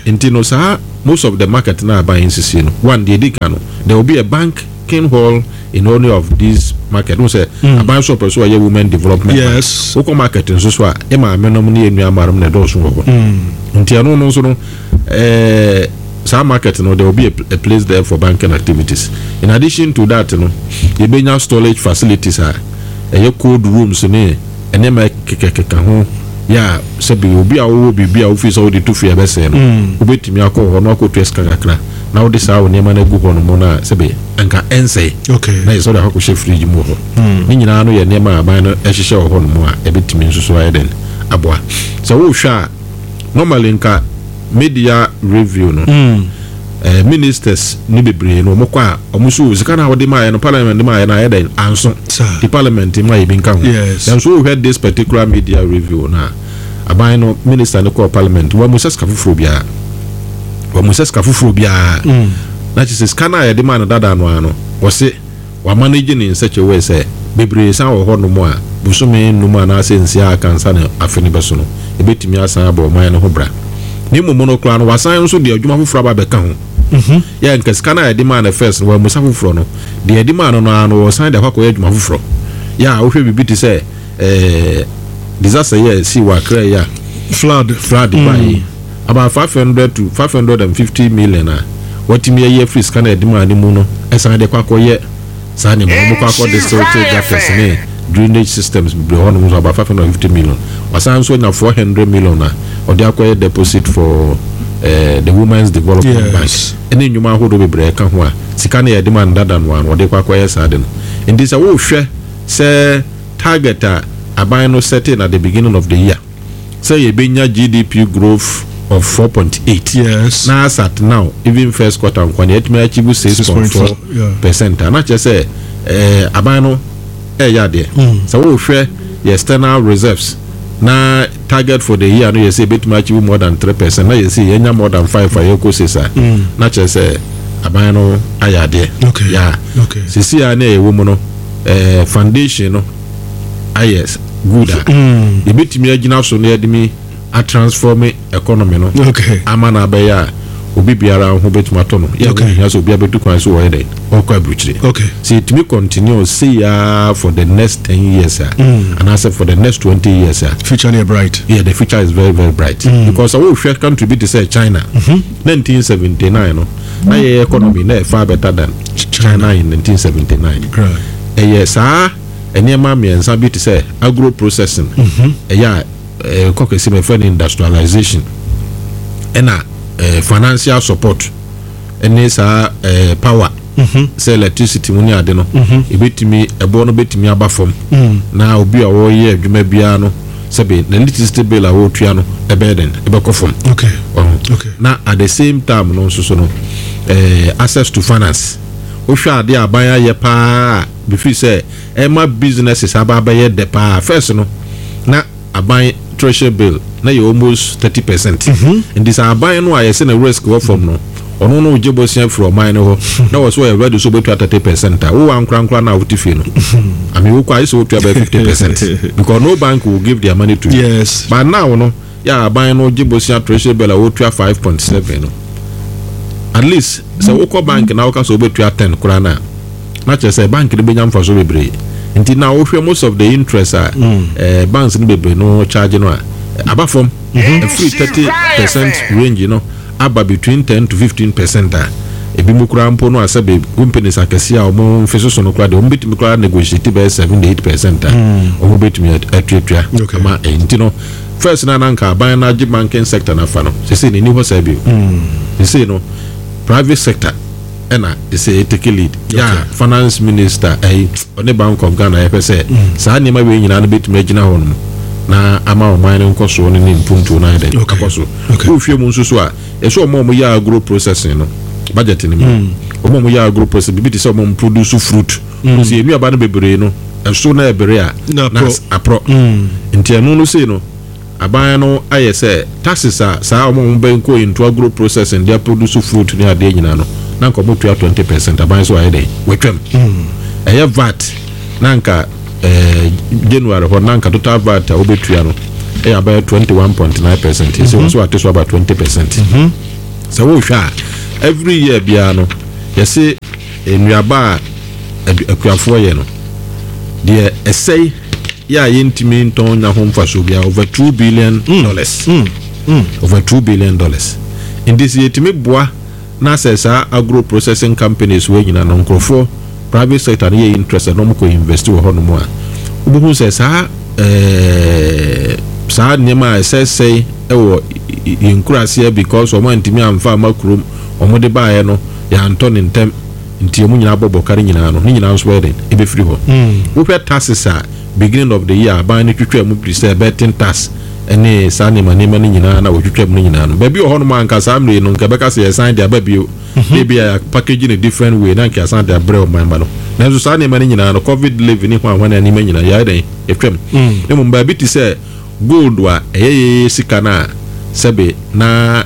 Nti no saa most of the market no a aban nsisie no, one deɛ ɛdi kan no, there will be a banking hall in any of these market. Wohu sɛ aban nso ɔpɛ sɛ ɔyɛ women development bank. Wokɔ market nso so a, yɛ maamenom ne yɛn nuammanom na ɛdɔɔso wɔ hɔ. Nti ɛno no nso no, eh, saa market no there will be a, a place there for banking activities. In addition to that no, yɛbɛnya storage facilities a ɛyɛ cold rooms ne nneɛma ɛkekakeka ho yɛ a sɛbi obi a wowɔ biribi a wofii sɛ wode to fie a ɛbɛsɛe no, wobɛtumi akɔ hɔ na wakɔtua sika kakra na wode saa wo nneɛma no agu hɔ nom no a sɛbi anka ɛnsɛe na yɛ sɛ wode akɔkɔhyɛ fridge mu wɔ hɔ. Ne nyinaa no yɛ nneɛma a aban no ɛhyehyɛ wɔ hɔ nom a ɛbɛtumi nso so ayɛ dɛn aboa. Sɛ wohwɛ a normally nka media review no eh, ministers ne bebree no wɔn kɔ a wɔn so sika na wɔde maa yɛ no parliament de maa yɛ no ayɛ dɛn anso ti parliament ma yɛ bi nka ho nanso wohwɛ this particular media review na aban no minister no kɔɔ parliament wɔn mu sɛ sika foforɔ biara wɔn mu sɛ sika foforɔ biara na kyerɛ sɛ sika no a yɛde maa no dada no ano wɔse Wɔamanegye no in such a way sɛ bebree san wɔ hɔnom a, bosome nnum anaasɛ nsia a aka ansa na afe no bɛso no, ebetumi asan abɔ ɔman no ho bra. Ne mmom no koraa no, wɔasan nso de adwuma foforo aba abɛka ho. Yɛ a anka sika no a yɛde maa no first no, wɔammisa foforɔ no, deɛ yɛde maa no no ara no, wɔresan de akɔ akɔyɛ adwuma foforɔ. Yɛ a wohwɛ biribi te sɛ eh, disaster yi a ɛsii wɔ Accra yi a, Flood. flood baeɛ yi, About 500 to 550 million a wɔatumi ayi afiri sika no a yɛde maa no mu no san de kɔ akɔyɛ saa nneɛma no. Wɔkɔ akɔ desilting gutters ne drainage systems bebree hɔnom nso about 550 million. Wasan nso anya 400 million a ɔde akɔyɛ deposit for eh, the Women's Development Bank ne nnwuma ahodoɔ bebree ɛka ho a sika no yɛde maa no dada no ara no wɔde kɔ akɔyɛ saa de no. Nti sɛ wohwɛ sɛ target a aban no setting at the beginning of the year sɛ yɛbɛnya GDP growth of 4.8 Yes. na as at now even first quarter nkoa no yɛatumi achieve 6.4 percent a na kyerɛ sɛ eh, aban no ɛyɛ adeɛ. Sɛ wohwɛ yɛ external reserves na target for the year no yɛ sɛ yɛbɛtumi achieve more than 3% na yɛ sɛ yɛanya more than 5 a yɛkɔ 6 a na kyerɛ sɛ aban no ayɛ adeɛ. Okay. Yeah. Okay. Sisi a na yɛwɔ mu no eh, foundation no ayɛ good a yɛbɛtumi agyina so na yɛde mi atransform economy no ama no abɛyɛ a obi biara ho bɛtumi atɔ no yɛ ho hia sɛ obi abɛtu kwan so wɔyɛ dɛn ɔkɔ aburukyire sɛ yɛtumi continue sei ara for the next 10 years a anaasɛ for the next 20 years a future no yɛ bright. Yeah, the future is very very bright because sɛ wohwɛ country bi te sɛ China 1979 no na yɛ economy na yɛ far better than China in 1979 ɛyɛ saa Nneɛma mmiɛnsa bi te sɛ agro processing, ɛyɛ a ɛkɔ kɛse mu yɛfrɛ no industrialization, ɛna financial support ɛne saa power sɛ electricity mu ne ade no ebetumi ɛboɔ no betumi aba fam na obi a ɔreyɛ adwuma biara no sɛbe na electricity bill a wɔretua no ɛbɛyɛ dɛn ɛbɛkɔ fam. Okay. Ɔho. Okay. Na at the same time no nso so no access to finance wohwɛ ade a aban ayɛ paa a Mefiri sɛ ɛma businesses aba abɛyɛ dɛ paa. First no na aban treasury bill na yɛ almost 30%. Nti sɛ aban no a yɛse ne risk wɔ fam no ɔno no gye bosea firi ɔman no hɔ na ɔse ɔyɛ ready sɛ ɔbɛtua 30% a, wo ankorankora no a wote fie no, I mean wokɔ a gye sɛ wotua bɛyɛ 50% because no bank will give their money to you. Yes. But now no yɛ a aban no gye bosea treasury bill a wotua 5.7 no, at least sɛ wokɔ bank na woka sɛ wobɛtua 10 koraa no a, na kyerɛ sɛ bank no bɛnya mfasoɔ bebree. Nti na wohwɛ most of the interest a eh, banks no bebree no charge no a, aba fam. Ɛfiri 30% range no aba between 10 to 15% a, ebi mu koraa mpo no a sɛbe companies akɛseɛ a wɔn mfe soso no koraa deɛ wɔn bɛtumi koraa negotiate bɛyɛ 7 8% a wɔn bɛtumi atuatua ama ɛyi. Nti no first no a na anka aban no agye banking sector no afa no, sesei no ɛnni hɔ saa bio. Sesei no private sector ɛna ɛsɛ take lead yɛ a finance minister ɛyi ɔne Bank of Ghana yɛhwɛ sɛ saa nneɛma wei nyinaa no bɛtumi agyina hɔ nom na ama ɔman no nkɔsoɔ no ne mpuntuo no ayɛ dɛn akɔ so. Wohwɛ mu nso so a ɛsɛ ɔmo a ɔmo yɛ agro processing no budget no mu ɔmo a ɔmo yɛ agro processing biribi te sɛ ɔmo a ɔmo produce fruit sɛ nnuaba no bebree no ɛso na ɛbere a na aporɔ nti ɛno no sei no Aban no ayɛ sɛ taxes a saa wɔn a wɔbɛn kɔ into agro processing de aproduce fruit ne adeɛ nyinaa no, na anka wɔtua 20 percent, aban nso ayɛ dɛn? Watwam. Ɛyɛ vat na anka eh, January hɔ na nka total VAT a wobɛtua no ɛyɛ abɛyɛ 21.9%. Ɛsɛ wɔn so ate so aba 20%. Sɛ wohwɛ a, every year biara no yɛse nnuaba a akuafoɔ yɛ no deɛ ɛsɛe yɛ a yɛntumi ntɔn nya ho mfasoɔ biara, over $2 billion. Over $2 billion. Nti sɛ yɛtumi boa na sɛ saa agro processing companies wei nyinaa no, nkurɔfoɔ private sector no yɛ interested na wɔkɔ invest wɔ hɔnom a, wobɛhu sɛ saa nneɛma a ɛsɛsɛe ɛwɔ yɛn nkuraseɛ because wɔn antumi amfa ama kurom, wɔn de baeɛ no yɛantɔ ne ntɛm, nti wɔn nyinaa bɔ bɔka no nyinaa no, ne nyinaa nso bɛyɛ den ɛbɛfiri hɔ. Wohwɛ taxes a beginning of the year aban no twitwa mu bi sɛ betting tax ɛne saa nneɛma no nyinaa na wɔtwitwa mu no nyinaa no, baabi wɔ hɔnom a nka saa mmere no nka ɛbɛka sɛ yɛsan de aba bio, ebi a package no different way na nka yɛsan de abrɛ ɔman ma no. Nanso saa nneɛma no nyinaa no, COVID levy ne ho ahwane nneɛma nyinaa yɛayɛ dɛn yɛtwam. Ne mmom baabi te sɛ gold a ɛyɛ yɛyɛ sika no a sɛbe na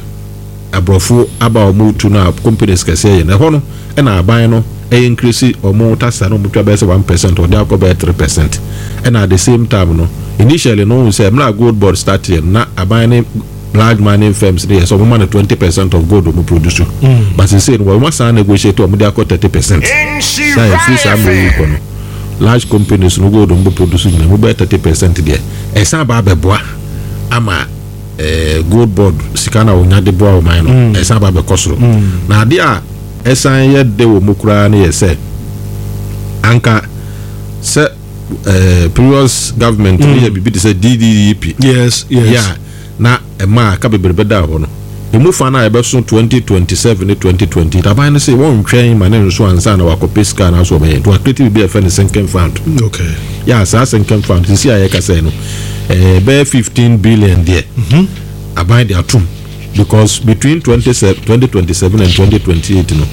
aborɔfo aba a wɔn tu no a companies kɛseɛ yɛ no, ɛhɔ no ɛna aban no ɛyɛ increase wɔn tax a na wɔn twa bɛyɛ sɛ 1%, ɔde akɔ bɛyɛ 3%. Ɛna at the same time no, initially no, ohun sɛ mmerɛ a Gold Board start yɛ no, na aban ne large mining firms ne yɛ sɛ wɔn ma no 20% of gold wɔn produce, but sese no wɔn asan negotiate, wɔn de akɔ 30%. Saa efiri saa mmerɛ yi kɔ no, large companies no gold wɔn bɛ produce nyinaa mu bɛyɛ 30% deɛ ɛsan ba abɛboa ama Gold Board sika na wonya de boa ɔman no ɛsan ba bɛkɔ soro. Na adeɛ a ɛsan yɛ de wɔ mu koraa no yɛ sɛ anka sɛ previous government no yɛ biribi te sɛ DDEP. Yeah, na ɛma aka bebree bɛda hɔ no, emu fa no a yɛbɛso 2027 ne 2020, aban no sɛ wɔntwɛn ma ne nso ansa na wakɔpɛ sika na so ɔbɛyɛ nti wacreate biribi a yɛfrɛ no sinking fund. Yɛ saa sinking fund sisi a yɛka sɛ no bɛyɛ 15 billion deɛ aban de atom, because between 2027 and 2028 no,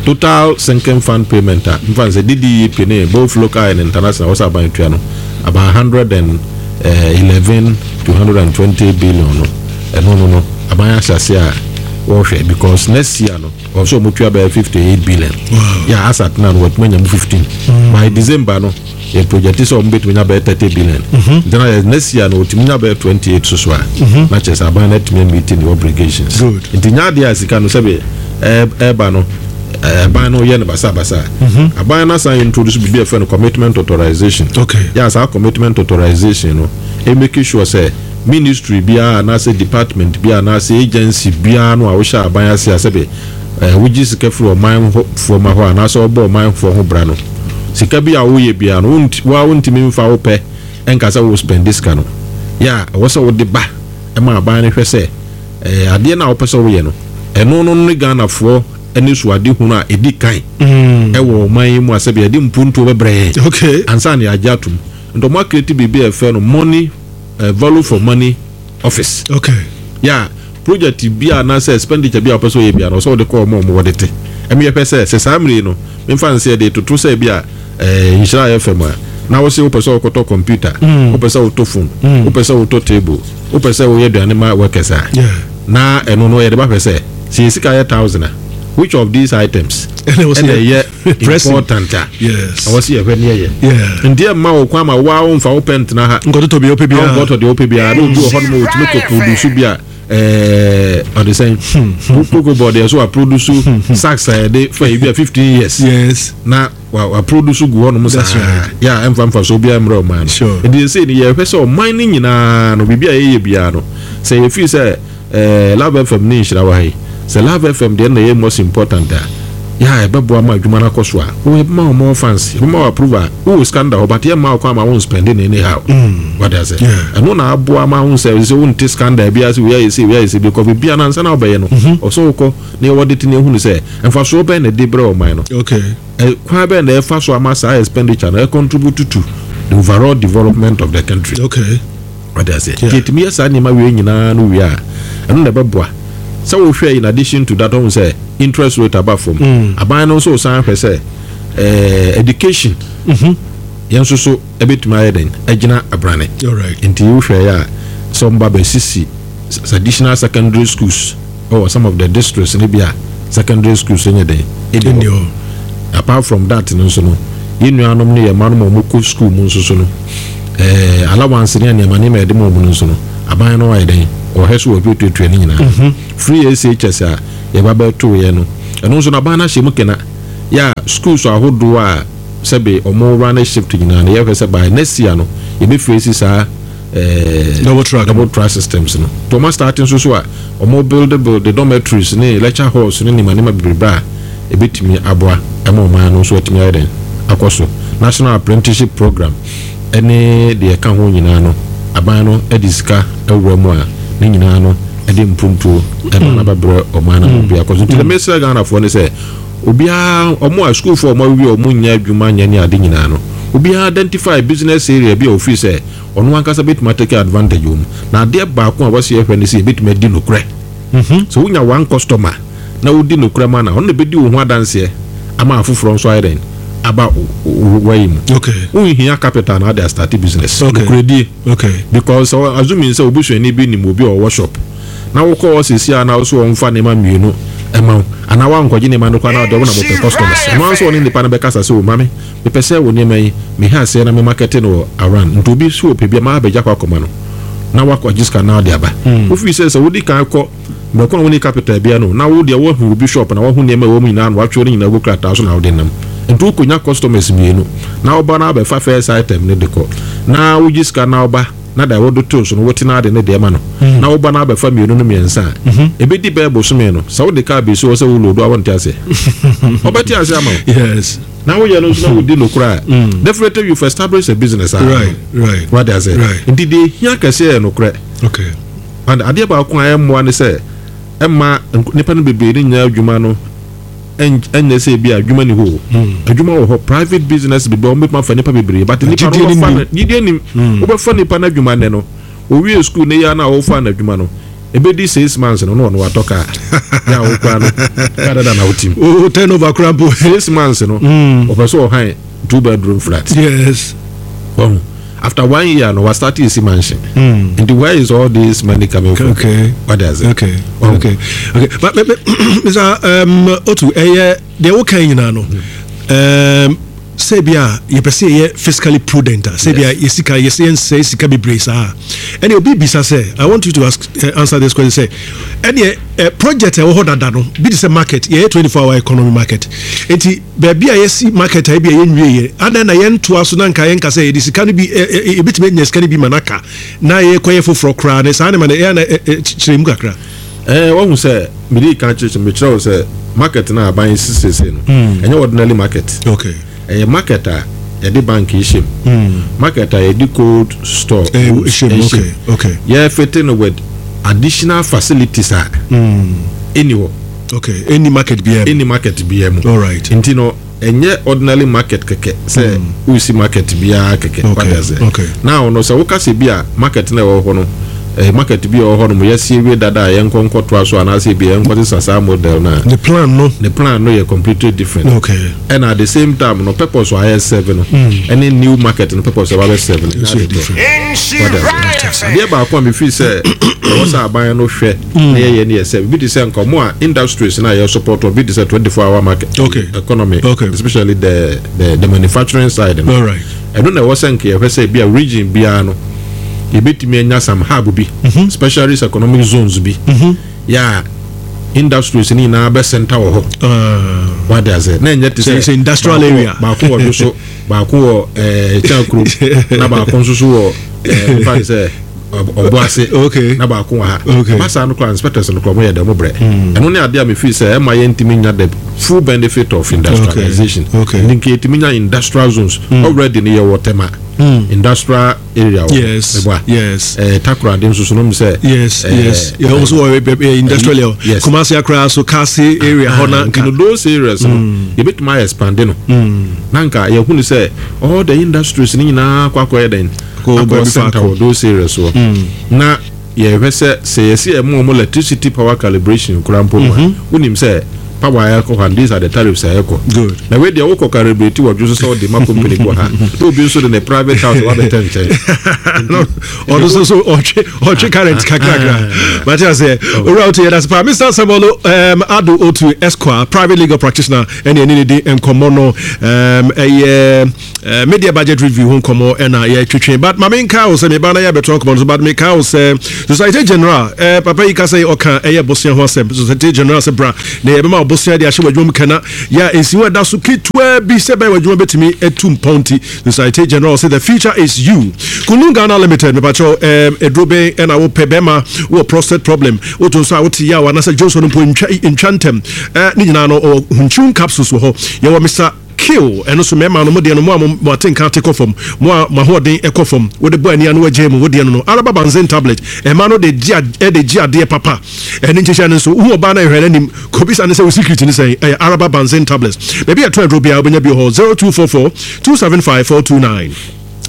total sinking fund payment a mfa sɛ DDEP ne both local and international wɔsɛ aban tua no about 111 to 120 billion no, ɛno no aban ahyɛ ase a wɔrehwɛ, because next year no ɔsɛ ɔmo tua bɛyɛ 58 billion. Yɛ asa tena no wɔtumi anya mu 15 by December no, yɛ project sɛ ɔmo bɛtumi nya bɛyɛ 30 billion. Nti na yɛ next year no wɔtumi nya bɛyɛ 28 so so a, na kyerɛ sɛ aban no atumi meet ne obligations. Nti nya adeɛ a sika no sɛbi ɛɛba no, aban no yɛ no basabasa. Aban no asan introduce biribi a yɛfrɛ no commitment authorization. Yɛ saa commitment authorization no ɛ make sure sɛ ministry biara anaasɛ department biara anaasɛ agency biara no a wohyɛ aban ase a sɛbi wogye sika firi ɔman foɔ ma hɔ anaasɛ ɔbɔ ɔman foɔ ho bra no, sika bi a woyɛ biara no, woa wontumi mfa wo pɛ ɛnka sɛ wo spend sika no. Yɛ a ɛwɔ sɛ wode ba ɛma aban no hwɛ sɛ adeɛ no a wopɛ sɛ woyɛ no, ɛno no ne Ghanafoɔ ne so ade hunu a ɛdi kan ɛwɔ ɔman yi mu a sɛbi yɛde mpuntuo bɛbrɛ yɛn ansa na yɛagye atom. Nti ɔmo acreate biribi a yɛfrɛ no money value for money office. Yɛ project bi a anaasɛ expenditure bi a wɔpɛ sɛ ɔyɛ bi a no, ɔsɛ wɔde kɔ ɔmo a ɔmo wɔde te ɛmi yɛpɛ sɛ saa mmiri no memfa nsɛ yɛde toto sɛ bi a Nhyira ayɛ fam a, na wose wopɛ sɛ wokɔtɔ computer, wopɛ sɛ wotɔ phone, wopɛ sɛ wotɔ table, wopɛ sɛ woyɛ aduane ma workers a, na ɛno no yɛde ba hwɛ sɛ yɛ sika yɛ thousand a, which of these items ɛna ɛyɛ important a ɛwɔ sɛ yɛhwɛ ne yɛyɛ. Nti ɛmma wo kwan ma woa womfa wo pɛ ntena ha nkɔtotɔ deɛ wopɛ biara. Nkɔtɔ deɛ wopɛ biara. Na obi wɔ hɔ nom a wɔtumi kɔ produce bi a ɔde sɛn Cocoa Board yɛ so wa produce sacks a yɛde fa yi bi a 15 years na wa produce gu hɔ nom saa yɛ a ɛmfa mfa so obiara mmerɛ ɔman no. Nti sɛ ni yɛhwɛ sɛ ɔman no nyinaa no, biribi a yɛyɛ biara no, sɛ yɛfii sɛ Love FM ne Nhyira wɔ ha yi, sɛ Love FM deɛ na ɛyɛ most important a, yɛ a ɛbɛboa ma adwuma no akɔ so a, wo yɛbɛma wo more fans, yɛbɛma wo approve a wowɔ sika no da hɔ, but yɛmma wo kwan ma wo nspend no anyhow. Wate ase? Ɛno na aboa ma wo sɛ wonte scandal biara sɛ wei ayɛ sei, wei ayɛ sei, because biribiara no ansa na wobɛyɛ no, ɔsɛ wokɔ na yɛwɔ de te na ehunu sɛ mfasoɔ bɛn na ɛde brɛ ɔman no. Kwan bɛn na ɛfa so ama saa expenditure no contribute to the overall development of the country. Wate ase? Nti yɛtumi yɛ saa nneɛma wei nyinaa no wie a, ɛno na ɛbɛboa sɛ wohwɛ. In addition to that, ɔhu sɛ interest rate aba fam. Aban no nso san hwɛ sɛ education yɛn nso so ɛbɛtumi ayɛ den agyina abrane. Nti wohwɛ yɛ a, sɛ ɔmba bɛsisi additional secondary schools ɛwɔ some of the districts no bi a secondary schools nyɛ den ɛni hɔ. Apart from that no nso no, Yɛn nuanom ne yɛn mma nom a wɔkɔ sukuu mu nso so no, ɛɛ allowance ne nneɛma nneɛma a yɛde ma wɔn no nso no, aban no ayɛ dɛn? Ɔhwɛ so wɔatuatuatua ne nyinaa. Free SHS a yɛba bɛtoeɛ no, ɛno nso no aban no ahyɛ mu kena. Yɛ a schools ahodoɔ a sɛbe wɔn running shift nyinaa no, yɛhwɛ sɛ by next year no, yɛbɛfiri saa eh, double track, double track systems no. Nti wɔn astart nso so a, wɔn build build dormitories ne lecture halls ne nneɛma nneɛma bebrebe a ebetumi aboa ɛma ɔman no nso atumi ayɛ dɛn akɔ so. National Apprenticeship Program ɛne deɛ ɛka ho nyinaa no, aban no de sika awura mu a ne nyinaa no ɛde mpuntuo ɛba na bɛbrɛ ɔman no ama obiara akɔ so. Nti na mesrɛ Ghanafoɔ ne sɛ obiara, wɔn a sukuufoɔ a wɔn awie a wɔn nnya adwuma nyɛ ne ade nyinaa no, obiara identify business area bi a ofiri sɛ ɔno ankasa bɛtumi atake advantage wɔ mu. Na adeɛ baako a wɔsi yɛhwɛ ne sɛ yɛbɛtumi adi nokorɛ. Sɛ wonya one customer na wodi nokorɛ ma no a, ɔno na ɛbɛdi wo ho adanseɛ ama afoforɔ nso ayɛ dɛn aba wayi mu. Wonhia capital na ade astarte business. Nokorɛdie. Because sɛ assuming sɛ obusuani bi nim obi a ɔwɔ shop na wokɔ hɔ seesei a na wo so ɔmfa nneɛma mmienu ma wo anaa woankɔgye nneɛma no koraa na ɔde wo na mopɛ customers. Ɛno ara nso ɔne nipa no bɛkasa sɛ o mame Mepɛ sɛ wo nneɛma yi, meha aseɛ na me markɛte no wɔ around, nti obi nso ɔpɛ bi a mabɛgya kɔ akɔma no na wakɔgye sika na ɔde aba. Wofiri sɛ sɛ wodi kan kɔ mmerɛ ko a wonni capital biara no na wo deɛ woahu obi shop na woahu nneɛma a ɛwɔ mu nyinaa na woatwerɛ ne nyinaa agu krataa so na wode nam. Nti wokɔnya customers mmienu na woba na wabɛfa first item no de kɔ na wogye sika na woba na deɛ wode too so no wote na ade ne deɛ ma no na woba na abɛfa mmienu no mmiɛnsa a ɛbɛdi bɛyɛ bosome no sɛ wode kaa bɛsi hɔ sɛ wo load a wonte aseɛ ɔbɛte aseɛ ama wo. Yes. Na woyɛ no nso na wodi nokorɛ a, definitely you've established a business a. Right, right. Wate ase? Right. Nti deɛ ehia kɛseɛ yɛ nokorɛ. Okay. And adeɛ baako a ɛmmoa ne sɛ ɛmma nnipa no bebree ne nyɛ adwuma no ɛnyɛ sɛ ebi a adwuma ni hɔ o. Adwuma wɔ hɔ, private business bebree wɔn bɛtumi afa nnipa bebree but nnipa no wobɛfa no gyidie nim. Wobɛfa nnipa no adwuma nnɛ no, owie school ne yɛ a na wofa no adwuma no, Ebedi 6 months no na ɔno watɔ kaa. Yɛ a wokura no kaa dada na wotim. O turnover kura mpo. 6 months no ɔpɛ sɛ ɔhan two bedroom flat. Yes. Wahu. After one year no wa start esi mansion. Nti where is all this money coming from? Okay. Wate ase? Okay. Wahu. Okay. But, but, but Mr. Otu, ɛyɛ deɛ woka yi nyinaa no. Sɛ bi a yɛpɛ sɛ yɛyɛ fiscally prudent a, sɛ bi a yɛ sika yɛsɛ yɛnsɛe sika bebree saa a, ɛne obi bisa sɛ, I want you to ask, answer this question sɛ, ɛneɛ project a ɛwɔ hɔ dada no bi te sɛ market, yɛyɛ 24 hour economy market, nti baabi a yɛsi market a ebi a yɛnwie yɛ, adɛn na yɛntoa so na nka yɛnka sɛ yɛde sika no bi, yɛbɛtumi anya sika no bi ma no aka na yɛkɔyɛ foforɔ koraa ne saa ne ma no ɛyɛ na kyerɛ mu kakra. Ɛɛ, wahu sɛ mede kan kyerɛkyerɛ mekyerɛ wo sɛ market no a aban si seesei no, ɛnyɛ ordinary market. Okay. Ɛyɛ market a yɛde bank hyɛ mu. Market a yɛde cold store hyɛ mu. Okay. Okay. Yɛfete no with additional facilities a ɛni hɔ. Okay. Ɛni market biara mu. Ɛni market biara mu. All right. Nti no ɛnyɛ ordinary market kɛkɛ sɛ wosi market biara kɛkɛ. Okay. Wate ase? Okay. Now no sɛ woka sɛ bi a market na ɛwɔ hɔ no market bi a ɛwɔ hɔ nom yɛasi awie dada a yɛnkɔ nkɔtoa so anaasɛ bi a yɛnkɔ sesa saa model no a, The plan no. The plan no yɛ completely different. Okay. Ɛna at the same time no purpose a ayɛ serve no ɛne new market no purpose a ɛba bɛ serve no Nso nyɛ yɛ ade korɔ. different. Wate ase? Adeɛ baako a mefeel sɛ ɛwɔ sɛ aban no hwɛ na yɛyɛ ne yɛ sɛ bi te sɛ nka ɔmo a industries no a yɛ support wɔn bi te sɛ 24 hour market economy, especially the manufacturing side no. All right. Ɛno na ɛwɔ sɛ nka yɛhwɛ sɛ bi a region biara no yɛbɛtumi anya some hub bi, specialist economic zones bi, yɛ a industries no nyinaa bɛ center wɔ hɔ. Wate ase? Na ɛnyɛ te sɛ Sɛ industrial area. Baako wɔ Dwoso, baako wɔ Kyankuro, na baako nso so wɔ nfa ne sɛ Ɔboase, na baako wɔ ha. Ɛba saa no koraa inspectors no koraa wɔn yɛ dɛ wɔn brɛ. Ɛno ne adeɛ a me feel sɛ ɛma yɛntumi nya the full benefit of industrialization. Nti nka yɛtumi nya industrial zones. Already no yɛwɔ Tema industrial area wɔ hɔ. Meboa? Takoradi nso so no mu sɛ. Yes, yes. Yɛ wɔn nso wɔ industrial area. Kumasi akora so Kasi area hɔ na nka. Nti no those areas no yɛbɛtumi ayɛ expand no. Na nka yɛhunu sɛ all the industries no nyinaa kɔ akɔyɛ dɛn? Akɔ center wɔ those areas hɔ. Na yɛhwɛ sɛ sɛ yɛsi ɛmo ɔmo electricity power calibration koraa mpo no a, wonim sɛ Power a ɛkɔ hɔ and these are the tariffs a ɛkɔ. Good. Na wei deɛ wokɔ calibrate wɔ dwo so sɛ wode ma company bi wɔ ha na obi nso de ne private house wabɛtɛ nkyɛn. Ɔno nso so ɔtwe ɔtwe current kakrakra. Mate aseɛ. Owura Otu yɛda ase paa. Mr. Samuel Ado Otu Esquire, private legal practitioner, ɛne ɛne ne di nkɔmmɔ no ɛyɛ media budget review ho nkɔmmɔ ɛna yɛtwetwe. But ma menka wo sɛ meba na yɛabɛtoa nkɔmmɔ no so, but meka wo sɛ Societe Generale, papa yi ka sɛ ɔka ɛyɛ bosea ho asɛm. Societe Generale sɛ bra na yɛbɛma wo bosea de ahyɛ w'adwuma mu kana yɛ a nsiho a ɛda so ketewa bi sɛ ɛbɛyɛ w'adwuma bɛtumi atu mpɔn nti. Societe Generale sɛ the future is you. Kunlun Ghana Limited, mepakyɛw, aduro bɛn ɛna wopɛ? Bɛrima wɔ prostate problem, woto nso a wote yaw anaasɛ dwonsɔ no mpo ntwa ntwa ntɛm. Ne nyinaa no ɔwɔ Hunchun capsules wɔ hɔ. Yɛwɔ Mr. Kill, ɛno nso mmarima no mo deɛ no mo a mo atenka ate kɔ fam, mo a mo ahoɔden kɔ fam, wode bɔ ani a na wagyae mu, wo deɛ no no Araba Banzen tablet, mmaa no de gye de gye adeɛ papa. Ɛne nkyekyɛ no nso, wohu ɔbaa no a hwɛ n'anim, kɔbisa no sɛ wo secret ne sɛn, ɛyɛ Araba Banzen tablets. Baabi a yɛtɔn aduro biara wobɛnya bi wɔ hɔ, 0244 275 429.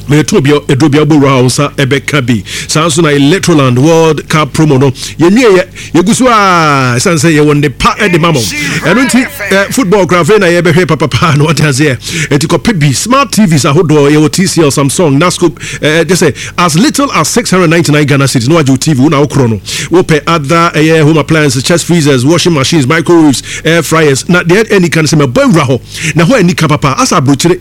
Mɛto obi aduro bi abɔ wura a wo nsa ɛbɛka bi. Saa nso na Electroland World Cup promo no yɛnwieɛ, yɛgu so a ɛsiane sɛ yɛwɔ nnepa de ma mo. Ɛno nti football koraa afei na yɛbɛhwɛ papapa na wate aseɛ. Ɛti kɔpɛ bi smart TVs ahodoɔ yɛwɔ TCL, Samsung, Nasco kyɛ sɛ as little as 699 Ghana cedis na wagye wo TV wo na wokorɔ no. Wopɛ other ɛyɛ home appliances, chest freezers, washing machines, microwaves, air fryers na deɛ ɛni ka no sɛ mɛbɔ awura hɔ na hɔ ani ka papa asa aburokyire.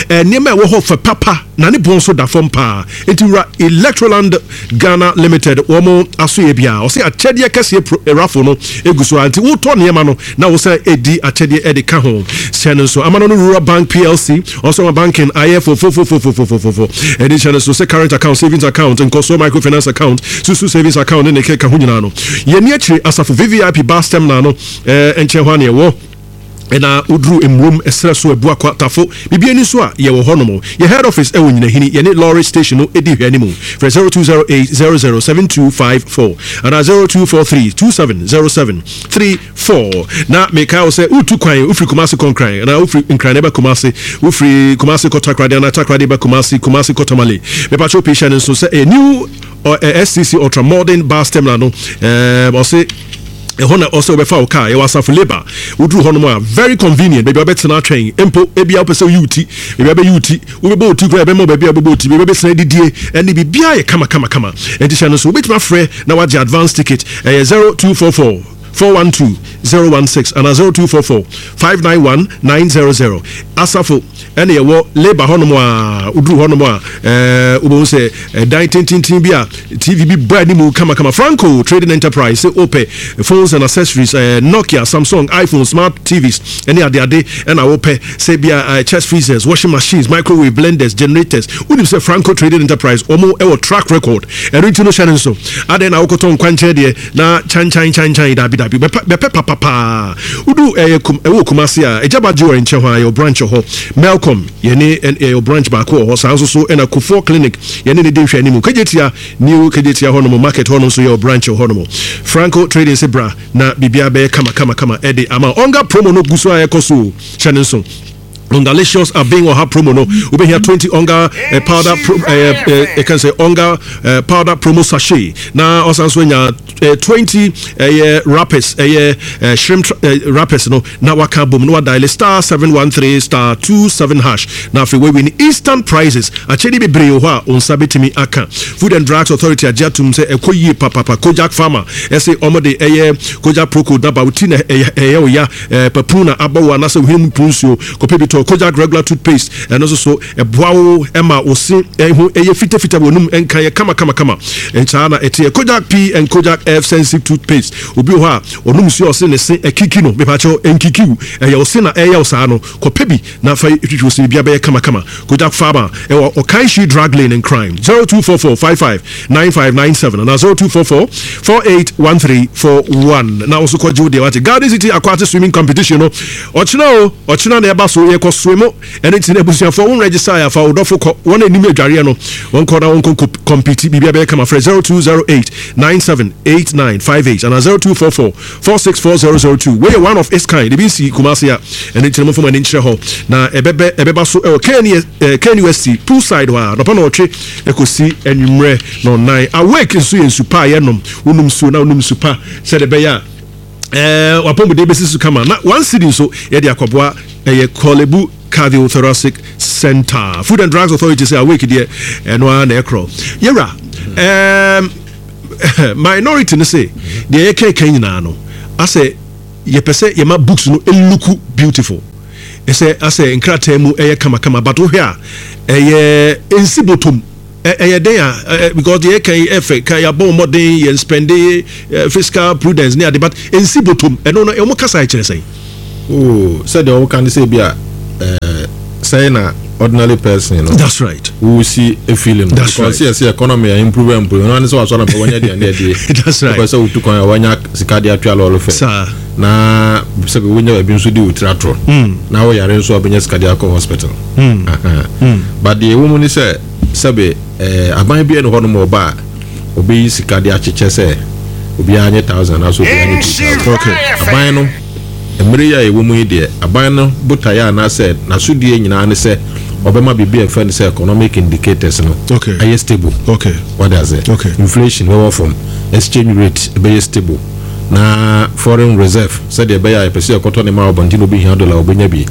Nneɛma a ɛwɔ hɔ fɛ papa na ne boɔ nso da fam paa. Enti wura Electroland Ghana Limited wɔn asoeɛ biara ɔse akyɛdeɛ kɛseɛ pro raffle no egu so ara nti wotɔ nneɛma no na wosan di akyɛdeɛ de ka ho. Hyɛ no nso Amano no Rural Bank PLC ɔso ama banking ayɛ fofofofofofofofo. Ɛde hyɛ no nso sɛ current account, savings account, nkɔsoɔ microfinance account, susu savings account ne ne keka ho nyinaa no. Yɛnni akyire asafo VVIP bus terminal no nkyɛn hɔ ara na yɛwɔ. Ɛna woduru Mmurom ɛserɛ so Abuakwa Tafo biribi ani nso a yɛwɔ hɔ nom. Yɛ head office ɛwɔ Nyinahini yɛne lorry station no di nhwɛanimu. Frɛ 0208 00 7254 anaa 0243 27 07 34. Na mekae wo sɛ woretu kwan wofiri Kumasi kɔ Nkran anaa wofiri Nkran na ɛba Kumasi, wofiri Kumasi kɔ Takoradi anaa Takoradi ba Kumasi, Kumasi kɔ Tamale. Mepakyɛw pii hyɛ no nso sɛ ɛyɛ new STC Ultra Modern Bus Terminal no ɔse ɛhɔ na ɔsɛ wobɛfa wo car. Yɛwɔ asafo labour woduru hɔnom a very convenient baabi a wobɛtena atwɛn mpo ebia wopɛ sɛ woyi wo ti baabi a wobɛyi wo ti wobɛbɔ wo ti koraa yɛbɛma wo baabi a wobɛbɔ wo ti baabi a wobɛtena adidie ɛne biribiara yɛ kama kama kama. Ɛnti hyɛ no nso wobɛtumi afrɛ na wagye advance ticket ɛyɛ 0244 412 016 anaa 0244 591 900. Asafo ɛna yɛwɔ Labour hɔnom a woduru hɔnom a ɛɛ wobɛhu sɛ ɛdan tententen bi a TV bi bɔ anim kamakama. Franco Trading Enterprise sɛ wopɛ phones and accessories ɛɛ Nokia, Samsung, iPhone, smart TVs ɛne adeade ɛna wopɛ sɛ bi a chest freezers, washing machines, microwave, blenders, generators. Wonim sɛ Franco Trading Enterprise wɔn ɛwɔ track record. Ɛno nti no hyɛ no nso. Adɛn na wokɔtɔ nkwankyɛn deɛ na kyankyan kyankyan dabi dabi bɛpɛ bɛpɛ papapaa wodu ɛyɛ kum ɛwɔ Kumasi a Agyaba Jewelry nkyɛn hɔ a yɛwɔ branch wɔ hɔ Melcom yɛne yɛwɔ branch baako wɔ hɔ saa nso so ɛna Kufuor Clinic yɛne ne di nhwɛ anim Kejetia New Kejetia hɔ nom market hɔ nom nso yɛwɔ branch wɔ hɔ nom Franco Trading se bra na biribiara bɛyɛ kama kama kama ɛde ama Onga promo no gu so a ɛkɔ so o hyɛ ne nso. Ongalicious Abeng Ɔha promo no wobɛhia 20 Onga eh, powder pro, eh, eh, eh, can say Onga eh, powder promo sachet na ɔsan so anya eh, 20 ɛyɛ eh, wrappers ɛyɛ eh, shrimp eh, wrappers no na waka bom na wadial star 713 star 27 hash na afei wawin instant prizes akyɛde bebree wɔ hɔ a wo nsa bɛtumi aka. Food and Drugs Authority agye atum sɛ ɛkɔ yie papapa. Kojak Pharma ɛse ɔmo de ɛyɛ Kojak Procold na ba wo ti na ɛyɛ wo ya Eh, papu na abɔ wo anaasɛ wo hwene mu pu nsuo, kɔpɛ bi tɔ. Kojak Regular Toothpaste, ɛno nso so, ɛboa wo ma wo se ho yɛ fitafita, w'anum nka yɛ kama kama kama. Saa na ɛteɛ. Kojak P and Kojak F Sensitive Toothpaste. Obi wɔ hɔ a, ɔnom nsuo a ɔse ne se akiki no, mepakyɛw, ɛnkiki wo, ɛyɛ wo se na ɛyɛ wo saa no, kɔpɛ bi na fa twitwi wo se, biribiara bɛyɛ kama kama. Kojak Pharma, ɛwɔ Okaishie Drug Lane, Nkran, 0244 55 9597 anaa 0244 481341 na wo nso kɔgye wo deɛ wate. Garden City Aquatic Swimming Competition no ɔkyena o, ɔkyena na ɛba so, yɛkɔ swim ɛno nti na abusuafoɔ wo register a fa wo dɔfo kɔ, wɔn anim adwareɛ no wɔn kɔ na wɔn kɔ compete, biribi abɛyɛ kama. Frɛ 0208 978958 anaa 0244 464002. Wei yɛ one of its kind, ebi nsi Kumasi a, ɛno nti na momfa mo ani nkyerɛ hɔ na ɛbɛbɛ ɛbɛba so ɛwɔ KNUST poolside hɔ a anɔpa nɔɔtwe ɛkɔsi anwummerɛ nɔnnan. Awake nso yɛ nsu pa a yɛnom, wonom nsuo na wonom nsu pa sɛdeɛ ɛbɛyɛ a. Ɛɛ wapɔmuden bɛsi so kama na one cedi nso yɛde akɔboa ɛyɛ Korle Bu Cardiothoracic Center. Food and Drugs Authority sɛ awake deɛ ɛno ara na ɛkorɔ. Yɛwura ɛɛm minority no se deɛ yɛkɛkɛ nyinaa no asɛ yɛpɛ sɛ yɛma books no look beautiful ɛsɛ asɛ nkrataa mu ɛyɛ kamakama but wohwɛ a ɛyɛ nsi bɔtɔm. Ɛyɛ dɛn a because deɛ yɛka yi ɛfɛ ka yɛabɔ mmɔden yɛn spɛnde fiscal prudence ne ade but ɛnsi bɔtɔm ɛno no wɔn kasa ɛkyerɛ sɛn? Oh, sɛdeɛ wɔn ka no sɛ ebi a sɛn na ordinary person no. That's right. Wusi efeeling no. That's right. Because yɛ sɛ economy a improve improve ɛno ne sɛ wasɔrɔ mpɛ wɔnyɛ aduane adie. That's right. Wopɛ sɛ wotu kwan a wɔnya sika de atua lɔɔre fɛ. Saa. Na sɛ wonya baabi nso de wo tiri atorɔ. Na woyare nso a wobɛnya sika de akɔ hospital. But deɛ ɛwɔ mu ne sɛ sɛbe aban biara nni hɔnom a ɔba a ɔbɛyi sika de akyekyɛ sɛ obiara nye thousand anaasɛ obiara nye 2,000. Okay. Aban no, mmerɛ yi a yɛwɔ mu yi deɛ, aban no botaeɛ anaasɛ n'asodie nyinaa ne sɛ ɔbɛma biribi a yɛfrɛ no sɛ economic indicators no Okay. ayɛ stable. Okay. Wate aseɛ? Okay. Inflation bɛwɔ fam, exchange rate bɛyɛ stable. Na foreign reserve sɛdeɛ ɛbɛyɛ a yɛpɛ sɛ yɛkɔtɔ nneɛma wɔ abɔnten na obi hia dollar a ɔbɛnya bi.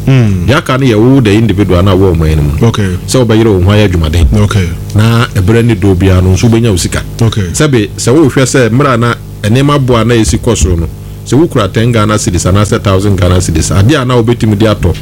Deɛ aka no yɛ wo the individual no a wowɔ ɔman no mu no sɛ wobɛyere wo ho ayɛ adwumaden na ɛberɛ ne dɔ biara no nso wobɛnya wo sika. Sɛbe sɛ wohwɛ sɛ mmerɛ a na nneɛma bo a na ɛsi kɔ soro no sɛ wokura 10 Ghana cedis anaasɛ 1000 Ghana cedis adeɛ a na wobɛtumi de atɔ.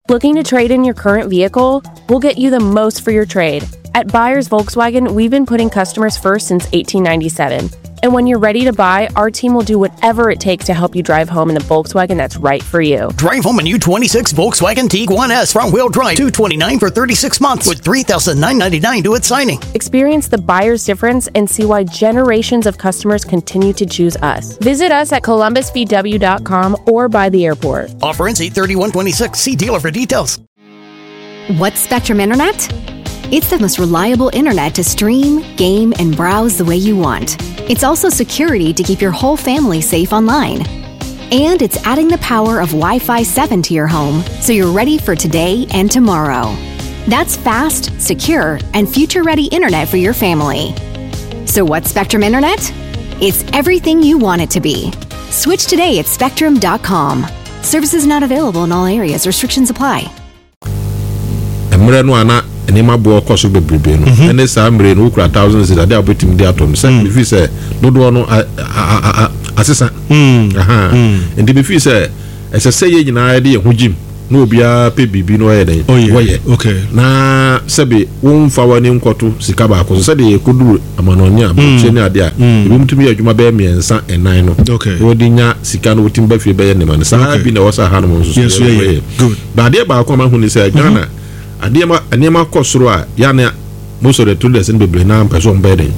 Looking to trade in your current vehicle? We'll get you the most for your trade. At Buyers Volkswagen, we've been putting customers first since 1897. And when you're ready to buy, our team will do whatever it takes to help you drive home in the Volkswagen that's right for you. Drive home a new 26 Volkswagen Tiguan S front wheel drive, $229 for 36 months with $3,999 due at signing. Experience the buyer's difference and see why generations of customers continue to choose us. Visit us at columbusvw.com or by the airport. Offer ends 8/31/26. See dealer for details. What's Spectrum Internet? It's the most reliable internet to stream, game, and browse the way you want. It's also security to keep your whole family safe online. And it's adding the power of Wi-Fi 7 to your home so you're ready for today and tomorrow. That's fast, secure, and future-ready internet for your family. So what's Spectrum Internet? It's everything you want it to be. Switch today at spectrum.com. Services not available in all areas. Restrictions apply. Mmerɛ no a na nneɛma boɔ kɔ so bebrebe no mhm. ɛne saa mmerɛ no wokura thousand cedis adeɛ a wobɛtumi de atɔ no sɛ mm. mefii sɛ dodoɔ no asesa mm. Mm. Nti mefii sɛ ɛsɛ sɛ yɛ nyinaa yɛde yɛn ho gyim na obiara pɛ biribi na ɔyɛ dɛn wɔyɛ na sɛbe womfa w'ani nkɔto sika baako so sɛdeɛ yɛkɔduru amanɔne a aburokyire ne adeɛ a ebinom tumi yɛ adwuma bɛyɛ mmiɛnsa nnan no na wɔde nya sika no wɔtumi ba fie bɛyɛ nneɛma no saa bi na ɛwɔ sɛ ahanom nso so yɛyɛ. But adeɛ baako a mahu ne sɛ Ghana adeɛ ma nneɛma kɔ soro a yɛ ne most of the traders no bebree naa mpɛ sɛ wɔn bɛyɛ den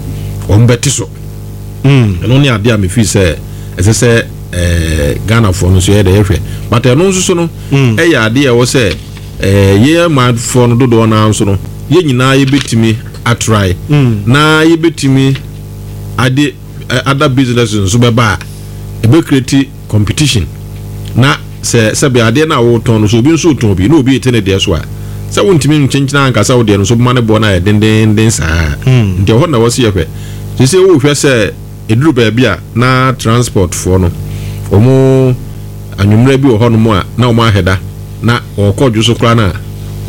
wɔn bɛte so. Ɛno ne adeɛ a mefi sɛ ɛsɛ sɛ ɛɛ Ghanafoɔ no nso yɛ dɛ yɛhwɛ but ɛno nso so no ɛyɛ adeɛ a ɛwɔ sɛ ɛɛ yɛn manfoɔ no dodoɔ naa nso no yɛn nyinaa yɛbɛtumi atrae na yɛbɛtumi ade other businesses nso bɛba a ɛbɛ create competition na sɛ sɛbe adeɛ no a wotɔn no so obi nso retɔn bi na obi rete ne deɛ so a sɛ wontumi nkyenkyena anka sɛ wo deɛ no nso bɛma ne boɔ no ayɛ dendenden saa nti ɛhɔ na ɛwɔ sɛ yɛhwɛ sɛ wohwɛ sɛ ɛduru baabi a na transport foɔ no wɔn anwummerɛ bi wɔ hɔnom a na wɔn ahɛda na wɔkɔ dwo so koraa no a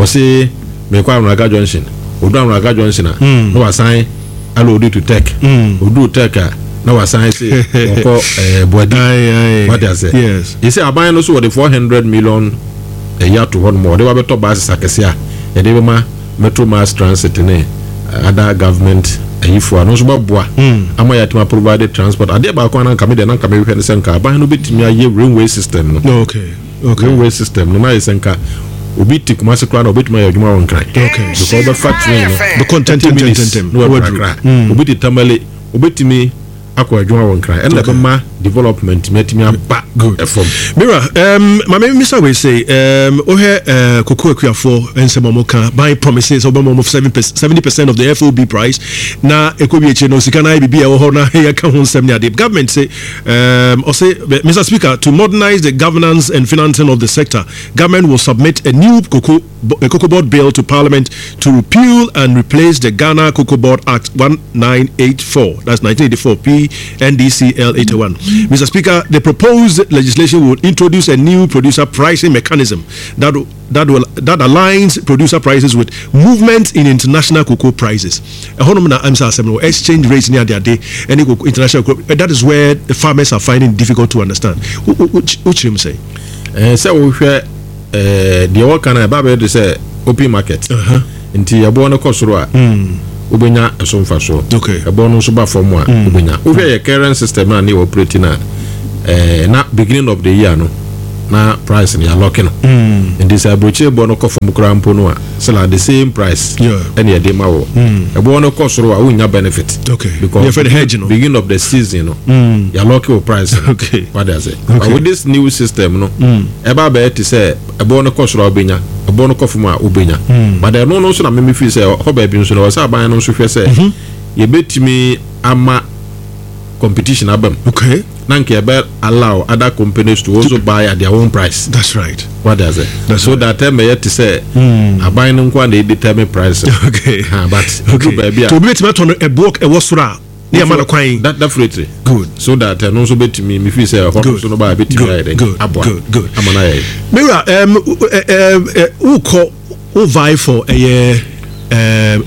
wɔse mekɔ Anwraga junction ɔduru Anwraga junction a na wasan aloodi to tech ɔduru tech a na wasan se wɔkɔ eh, Boadi wate ase yɛsɛ aban no so wɔde 400 million ɛyi ato hɔ nom wɔde wabɛtɔ buses akɛse a yɛde bɛma Metro Mass Transit ne other government ayifoɔ a no nso bɛboa ama yɛatumi aprovide transport. Adeɛ baako a na nka me deɛ na nka mehwehwɛ ne sɛ nka aban no bɛtumi ayɛ railway system no. Okay. Okay. Railway system no na ayɛ sɛ nka obi te Kumasi koraa na obɛtumi ayɛ adwuma wɔ Nkran. Okay. Because wobɛfa train no. Bɛkɔ 30 minutes ntɛntɛntɛntɛm. na waduru Accra. Obi te Tamale obɛtumi akɔ adwuma wɔ Nkran ɛna ɛbɛma development mi atumi aba ɛfam. Mira, um, ma me mmisa wei sei, um, wohwɛ uh, koko akuafoɔ nsɛm a wɔka, ban promises sɛ wobɛma wɔn 70% of the FOB price, na ɛkɔ wie akyire no sika no ayɛ biribi a ɛwɔ hɔ na yɛka ho nsɛm ne adeɛ. Government se, um, ɔse, Mr. Speaker, to modernize the governance and financing of the sector, government will submit a new cocoa a Cocoa Board bill to Parliament to repeal and replace the Ghana Cocoa Board Act 1984. That's 1984 PNDCL 81. Mr. Speaker, the proposed legislation will introduce a new producer pricing mechanism that that will that aligns producer prices with movement in international cocoa prices. Ɛhɔnom na ɛm sɛ asɛm no exchange rates ne adeade ɛne cocoa international cocoa that is where the farmers are finding it difficult to understand. Wokyerɛ mu sɛ? Ɛɛ sɛ wohwɛ ɛɛ deɛ wɔka no ɛba bɛyɛ de sɛ open market. Nti ɛboɔ no kɔ soro a wobɛnya ɛso mfasoɔ. Ɛboɔ no nso ba fam a wobɛnya. Wohwɛ yɛ current system a ne yɛ operate no a ɛɛ na beginning of the year no na price no yɛalɔke no. Nti sɛ aburokyire boɔ no kɔ fam koraa mpo no a still at the same price ɛna yɛde ma wɔ. Ɛboɔ no kɔ soro a wonnya benefit. Because beginning of the season no yɛalɔke wo price no. Wade ase. But with this new system no ɛba abɛyɛ te sɛ ɛboɔ no kɔ soro a wobɛnya, ɛboɔ no kɔ fam a wobɛnya. But ɛno no nso na meme feel sɛ hɔ baabi nso no ɛwɔ sɛ aban no nso hwɛ sɛ yɛbɛtumi ama competition aba mu. Okay. Na nka yɛbɛ allow other companies to also buy at their own price. That's right. What does it? That's so right. that ɛmɛyɛ te sɛ aban no nko a na ɛdetermine price. Okay. Ha, but okay. Baabi a. To obi bɛtumi atɔ no ɛboɔ ɛwɔ soro a ne yɛma no kwan. That definitely. Good. So that ɛno nso bɛtumi me feel sɛ ɛhɔ nso no ba bɛtumi ayɛ dɛ aboa. Good. Good. Ama no ayɛ. Mewura um, wokɔ wo vie for ɛyɛ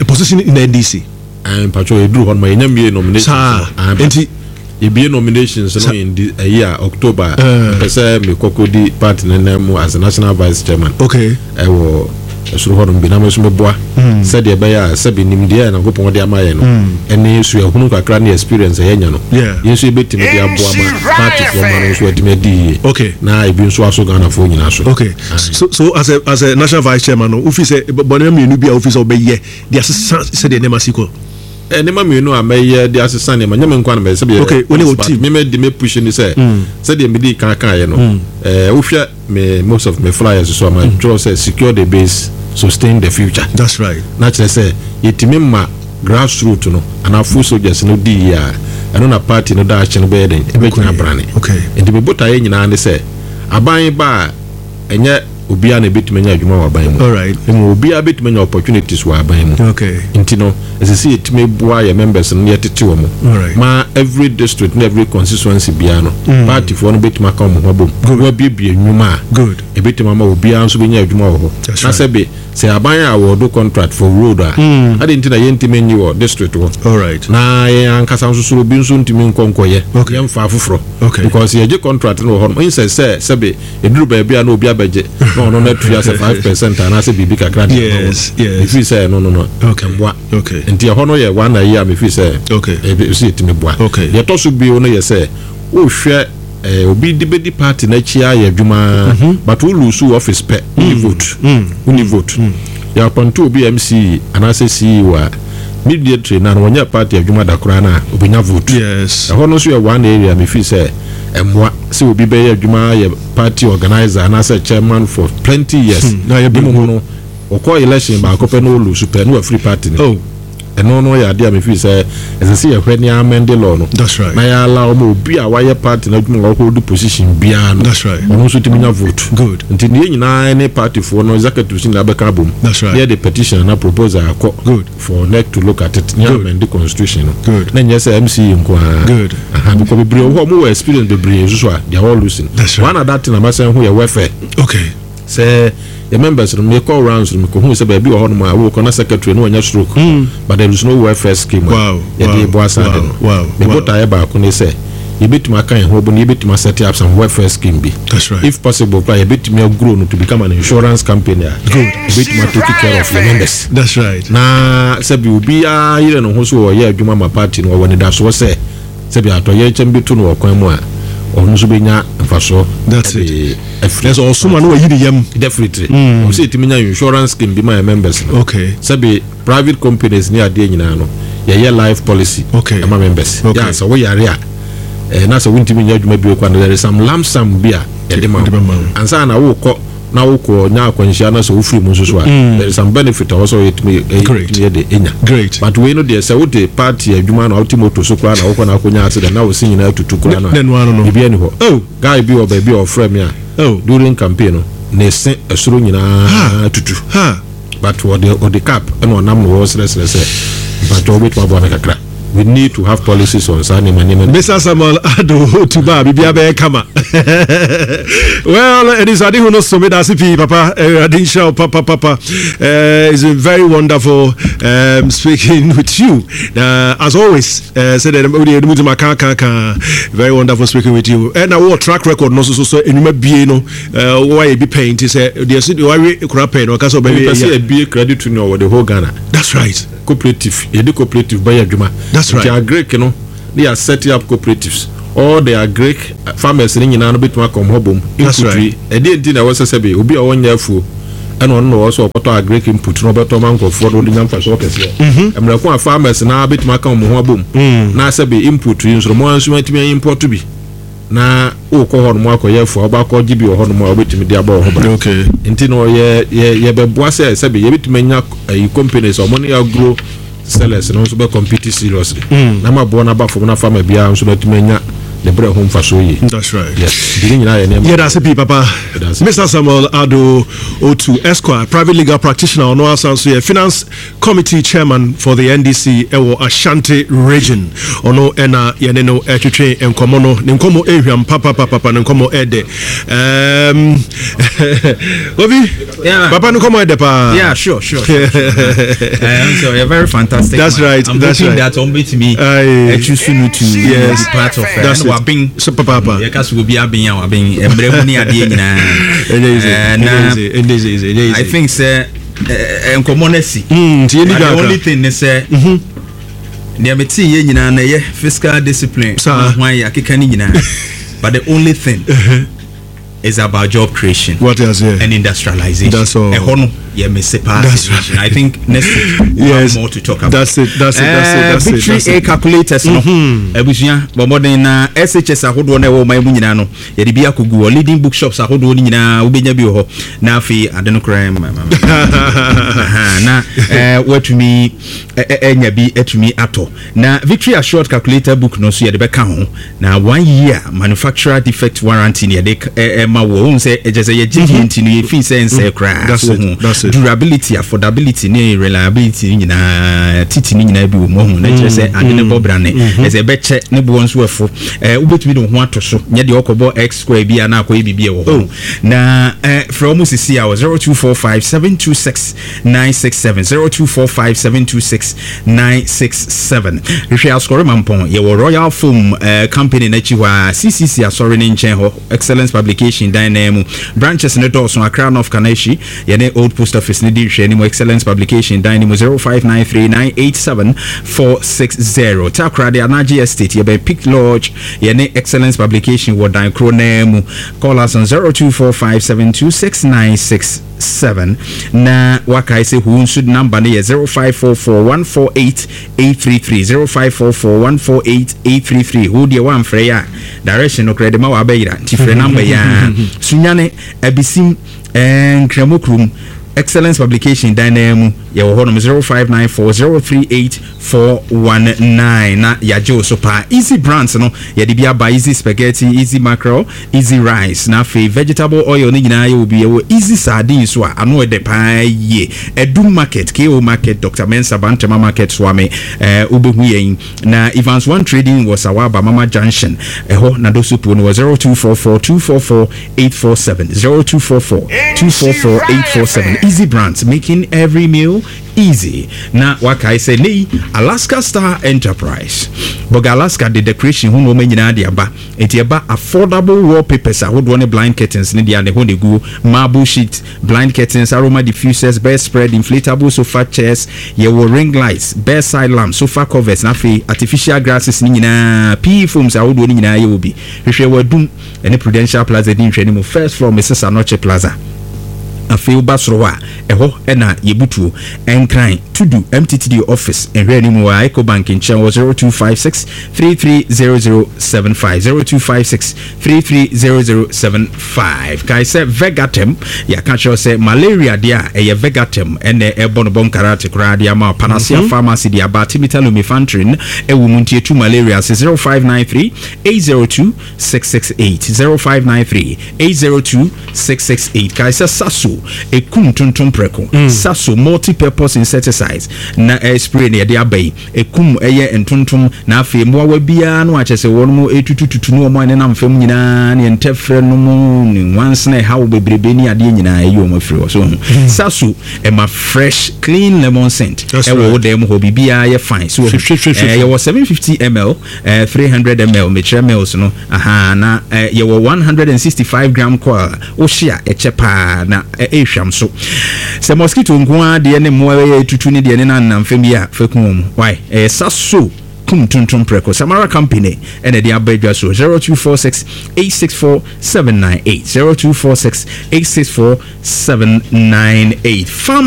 a position in the NDC. Mpatsɔ yɛduru hɔ no ma yɛnya mmie nominations. Saa nti yɛbie nominations no in the ɛyi a October mpɛ sɛ mekɔkɔ di party no nan mu as national vice chairman. Okay. Ɛwɔ ɛsoro hɔ nom bi na me nso meboa sɛdeɛ ɛbɛyɛ a sɛbi nimdeɛ a Nyankopɔn de ama yɛn no ɛne suahunu kakra ne experience a yɛanya no yɛn nso yɛbɛtumi de aboa ma partyfoɔ ma no nso atumi adi yie okay. na ebi nso aso Ghanafoɔ nyinaa so. Okay. So, so as a as a national vice chairman no wofi sɛ bɔne mmienu bi a wofi sɛ wobɛyɛ de asesa sɛdeɛ nneɛma si kɔ. Nneɛma mmienu a mɛyɛ de asesa nneɛma, nyɛ me nko ara na mɛyɛ, sɛdeɛ Okay, wo ne wo team. Me me de me push ne sɛ, sɛdeɛ medii kan kaeɛ no, wohwɛ me most of me flyers so a, matwerɛ sɛ secure the base, sustain the future. That's right. Na kyerɛ sɛ yɛtumi ma grassroot no anaa foot soldiers no di yie a, ɛno na party no daakye no bɛyɛ den, ɛbɛgyina brane. Okay. Nti me botaeɛ nyinaa ne sɛ, aban ba a, ɛnyɛ obiara na ebetumi anya adwuma wɔ aban mu. Mmom obiara betumi anya opportunities wɔ aban mu. Nti no, ɛsɛ sɛ yɛtumi boa yɛn members no na yɛtete wɔn ma every district ne every constituency biara no, party foɔ no betumi aka wɔn ho abom na wɔabuebue nnwuma a ebetumi ama obiara nso benya adwuma wɔ hɔ. Na sɛbe sɛ aban a awɔɔdo contract for road a, adɛn nti na yɛntumi nnye wɔ district hɔ na yɛn ankasa nso so obi nso ntumi nkɔ nkɔyɛ, yɛmfa afoforɔ because yɛgye contract no wɔ hɔ nom, nsɛ sɛ sɛbe Ɛduru baabi a na obi abɛgye na ɔno no atua sɛ 5% anaasɛ biribi kakra de ama wɔn. Mefiri sɛ ɛno no no ɛmmoa. Nti ɛhɔ no yɛ one ayi a mefiri sɛ ɛsɛ yɛtumi boa. Deɛ ɛtɔ so bio no yɛ sɛ wohwɛ obi de bɛdi party no akyi ayɛ adwuma but wo lose wo office pɛ wonni vote. Wonni vote. Yɛ appoint obi MC anaasɛ CEO a immediately na wɔnyɛ party adwuma da koraa no a ɔbɛnya vote. Ɛhɔ no nso yɛ one area mefiri sɛ ɛmmoa sɛ obi bɛyɛ adwuma ayɛ party organiser anaasɛ chairman for plenty years na mmom no ɔkɔ election baako pɛ na ɔlusu pɛ na wafiri party no mu. Ɛno no yɛ adeɛ a mefeel sɛ ɛsɛ sɛ yɛhwɛ ne amend law no na yɛ allow ma obi a wayɛ party no adwuma a ɔhold position biara no ɔno nso tumi nya vote. Nti ne yɛn nyinaa ne partyfoɔ no executives nyinaa bɛka abom na yɛde petition anaa proposal akɔ for NEC to look at it ne amend the constitution no na nyɛ sɛ MCE nko ara. Good. Aha, because bebree wɔ hɔ ɔmo wɔ experience bebree nso so a they are all losing. That's right. One other thing a masan hu yɛ welfare. Okay. Sɛ yɛ members no mekɔ rounds no mekɔ hu sɛ baabi wɔ hɔ nom a wokɔ na secretary no wanya stroke but there is no welfare scheme a yɛde boa saa de no. Me botaeɛ baako ne sɛ yɛbɛtumi aka yɛn ho abom na yɛbɛtumi a set up some welfare scheme bi. That's right. If possible koraa yɛbɛtumi a grow no to become an insurance company a ɛbɛtumi a take care of yɛn members. That's right. Na sɛbi obiara yere ne ho so ɔyɛ adwuma ma party no ɔwɔ anidasoɔ sɛ sɛbi atɔyerɛkyɛm bi to no wɔ kwan mu a ɔno nso bɛnya mfasoɔ. That's it. Afiri. Ɛsɛ ɔsom a na wayi ne yam. Definitely. Ɔwɔ sɛ yɛtumi nya insurance scheme bi ma yɛn members no. Okay. Sɛbi private companies ne adeɛ nyinaa no yɛyɛ life policy. Okay. Ɛma members. Okay. Yɛ a sɛ woyare a eh, na sɛ wontumi nyɛ adwuma bio kora no there is some lump sum bi a yɛde ma wo. Ansa na wokɔ na wokɔ nya akwanhyia na sɛ wofiri mu nso so a mm. there is some benefit a wɔsɛ yɛtumi yɛtumi yɛ de enya. Great. But wei no deɛ sɛ wote party adwuma na wote moto so koraa na wokɔ na akɔnya accident na wosi nyinaa tutu koraa na biribi ani hɔ. Oh. Guy bi wɔ baabi a ɔfrɛ me a oh. during campaign no ne se ɛsoro nyinaa tutu. Ha. But ɔde ɔde cap ɛna ɔnam na wɔsrɛsrɛ sɛ mpatwɔ wobɛtumi aboa me kakra. We need to have policies on saa nneɛma nneɛma. Mr. Samuel Ado Otuba biribiara bɛyɛ kama. Well, anisoadehu no so meda ase pii papa. Awurade nhyira wo papa papa. It's been very wonderful speaking with you. As always, sɛ dɛ wode ɛnum ntoma ka ka ka. Very wonderful speaking with you. Ɛna wɔ track record no so so so enwuma bie no wɔayɛ bi pɛn nti sɛ deɛ so deɛ wawe kora pɛn no ɔka sɛ ɔbɛwe. Mepɛ sɛ yɛbie credit union wɔ the whole Ghana. That's right. Cooperative, yɛde cooperative bɛyɛ adwuma. That's right. Nti agric no ne yɛ set up cooperatives. All the agric farmers no nyinaa no bɛtumi akɔ hɔ bom. That's Input right. yi, ɛdeɛ nti na ɛwɔ sɛ sɛbe obi a ɔnyɛ afuo ɛna ɔno na ɔwɔ sɛ ɔkɔtɔ agric input na ɔbɛtɔ ma nkurɔfoɔ na ɔde nya mfasoɔ kɛseɛ. Mmerɛ ko a farmers naa bɛtumi aka wɔn ho abom na sɛbe input yi nso no mo ara nso atumi import bi na wokɔ hɔ nom akɔyɛ afuo a wobɛakɔ gye bi wɔ hɔ nom a wobɛtumi de abɔ wo ho ban. Okay. Nti no yɛ yɛ yɛbɛboa sɛ sɛbe yɛbɛtumi anya ayi companies a wɔn ne agro sellers no nso bɛ compete seriously na ma boɔ no aba fam na farmer biara nso no atumi anya ne berɛ ho mfasoɔ yie. That's right. Yes. Nti ne nyinaa yɛ nneɛma. Yɛda ase pii papa. Yɛda ase. Mr. Samuel Ado Otu Esquire, private legal practitioner, ɔno asan so yɛ finance committee chairman for the NDC ɛwɔ Ashanti region. Ɔno ɛna yɛne no ɛtwetwe nkɔmmɔ no. Ne nkɔmmɔ ɛhwam papapapa, ne nkɔmmɔ ɛdɛ. Obi, Yeah. papa ne nkɔmmɔ ɛdɛ paa. Yeah, sure. So you're very fantastic. That's man. right, I'm that's hoping right. that on me, Aye. choose to Yes. be part of. That's and it. Wabing. So papa. Yeah, kasi obi abin ya wabin. Emre mu ni adeɛ nyinaa. Ɛnyɛ easy. Eh, Ɛnyɛ na easy. Ɛnyɛ easy. Ɛnyɛ easy. I think sɛ nkɔmɔ no asi. Nti yɛnni But the dwa only akra. thing ne sɛ deɛ metee yɛ nyinaa na ɛyɛ fiscal discipline Saa. ho ayɛ akeka ne nyinaa, but the only thing is about job creation What is it? and industrialization. That's all. Ɛhɔ no yɛ mese paa. That's right. I think next week we'll Yes. have more to talk about. That's it, that's it, that's it, that's it, Victory that's A it. calculators no, abusua, bɔ mmɔden na SHS ahodoɔ no ɛwɔ ɔman mu nyinaa no, yɛde bi akɔgu hɔ. Leading bookshops ahodoɔ no nyinaa wobɛnya bi wɔ hɔ, na afei ade no koraa Aha, na woatumi ɛnya bi atumi atɔ. Na Victory Assured calculator book no nso yɛde bɛka ho, na one year manufacturer defect warranty ne yɛde ɛma wɔ. Wohu sɛ ɛkyɛ sɛ yɛgye die nti no yɛfii sɛ nsɛe koraa. That's So it, wohu that's it. durability, affordability ne reliability ne nyinaa, titi ne nyinaa bi wɔ mu. Ɔhu na kyerɛ sɛ ade ne bɔ brane ɛsɛ ɛbɛkyɛ ne boɔ nso ɛfo. Wobɛtumi de wo ho ato so, nyɛ deɛ ɔkɔbɔ x square bi a na akɔyɛ biribi a ɛwɔ hɔ no. Na frɛ wɔ mu sisi a wɔ 0245 726 967, 0245 726 967. Hwehwɛ Asɔre Mampɔn, yɛwɔ Royal Foam company n'akyi hɔ a, CCC asɔre ne nkyɛn hɔ, Excellence Publication dan nan mu. Branches ne dɔɔso. Accra North Kaneshie, yɛne Old Post Office ne di nhwɛ mu, Excellence Publication dan no mu, 0593 987 460. Takoradi Anagye Estate, yɛbɛn Peak Lodge, yɛne Excellence Publication wɔ dan koro nan mu. Call us on 0245 726 967. Na wakae sɛ hu nso number no yɛ 0544 148 833, 0544 148 833. Wo deɛ woamfrɛ yɛ a, direction no korɛ de ma wabɛyera, nti frɛ number yi a. Sunyane Abisim, Nkramo kurom, Excellence Publication dan nan mu, yɛwɔ hɔnom, 0594 038 419, na yɛagye wo so paa. Easy Brands no yɛde bi aba: Easy Spaghetti, Easy Mackerel, Easy Rice, na afei vegetable oil no nyinaa yɛwɔ bi. Yɛwɔ Easy Sardine so a ano ɛdɛ paa yie. Adum Market, ko Market, Dr Mensa, Bantama Market, Soame, wobɛhu yɛn. Na Evans One Trading wɔ Sawaba Mama Junction ɛhɔ, na Dosopuo no wɔ 0244 244 847, 0244 244 847. Easy Brands, making every meal easy. Na wakae sɛ nei Alaska Star Enterprise Bɔga Alaska de decoration ho nneɛma nyinaa de aba, nti ɛba affordable wallpapers ahodoɔ ne blind curtains ne deɛ ne hɔ ne guo, marble sheet, blind curtains, aroma diffusers, bedspread, inflatable sofa chairs, yɛwɔ ring lights, bedside lamp, sofa covers, na afei artificial grasses ne nyinaa, PE foams ahodoɔ ne nyinaa yɛwɔ bi. Hwehwɛ wɔ Adum ɛne Prudential Plaza di nhwɛ ne mu, first floor, Mrs Anɔkye Plaza. Afei woba soro hɔ a, ɛhɔ ɛna yɛbutuo. Ɛnkran Tudu MTTD office nhwɛ anim wɔ a, Ecobank nkyɛn, wɔ 0256 330075, 0256 330075. Kae sɛ Vegatem, yɛaka kyerɛw sɛ malaria deɛ a ɛyɛ Vegatem ɛnɛ ɛbɔ no bɔ nkarate koraa de ama. Panacea Pharmacy de aba, artemether lumefantrine ɛwɔ mu, nti ɛtu malaria ase. 0593 802 668, 0593 802 668. Kae sɛ Saso Saso ɛkum ntontom prɛko. Saso multi-purpose insecticides na ɛyɛ spray na yɛde aba yi. Ɛkum ɛyɛ ntontom na afei mmoawa biara no a kyerɛ sɛ wɔn ɛtutututu ne wɔn a ɛnenam fam nyinaa ne ntɛfrɛ nom ne nwansena ɛhaw bebrebe ne adeɛ nyinaa ɛyi wɔn afiri hɔ. So ho. Saso ɛma fresh clean lemon scent ɛwɔ wo dan mu hɔ, biribiara yɛ fine. So ho. Yɛwɔ 750 ml, 300 ml, mekyerɛ mils no, ahaa, na yɛwɔ 165 gram coil a wohye a ɛkyɛ paa na ɛrehwam so. Sɛ mosquito nko ara deɛ ne mmoa ɛyɛ tutu ne deɛ ne nanam fam yi a, fa ku wɔn. Why? Ɛyɛ Saso kum tuntum prɛko. Samara Company ɛna ɛde aba adwa so. 0246 864 798, 0246 864 798. Farmer.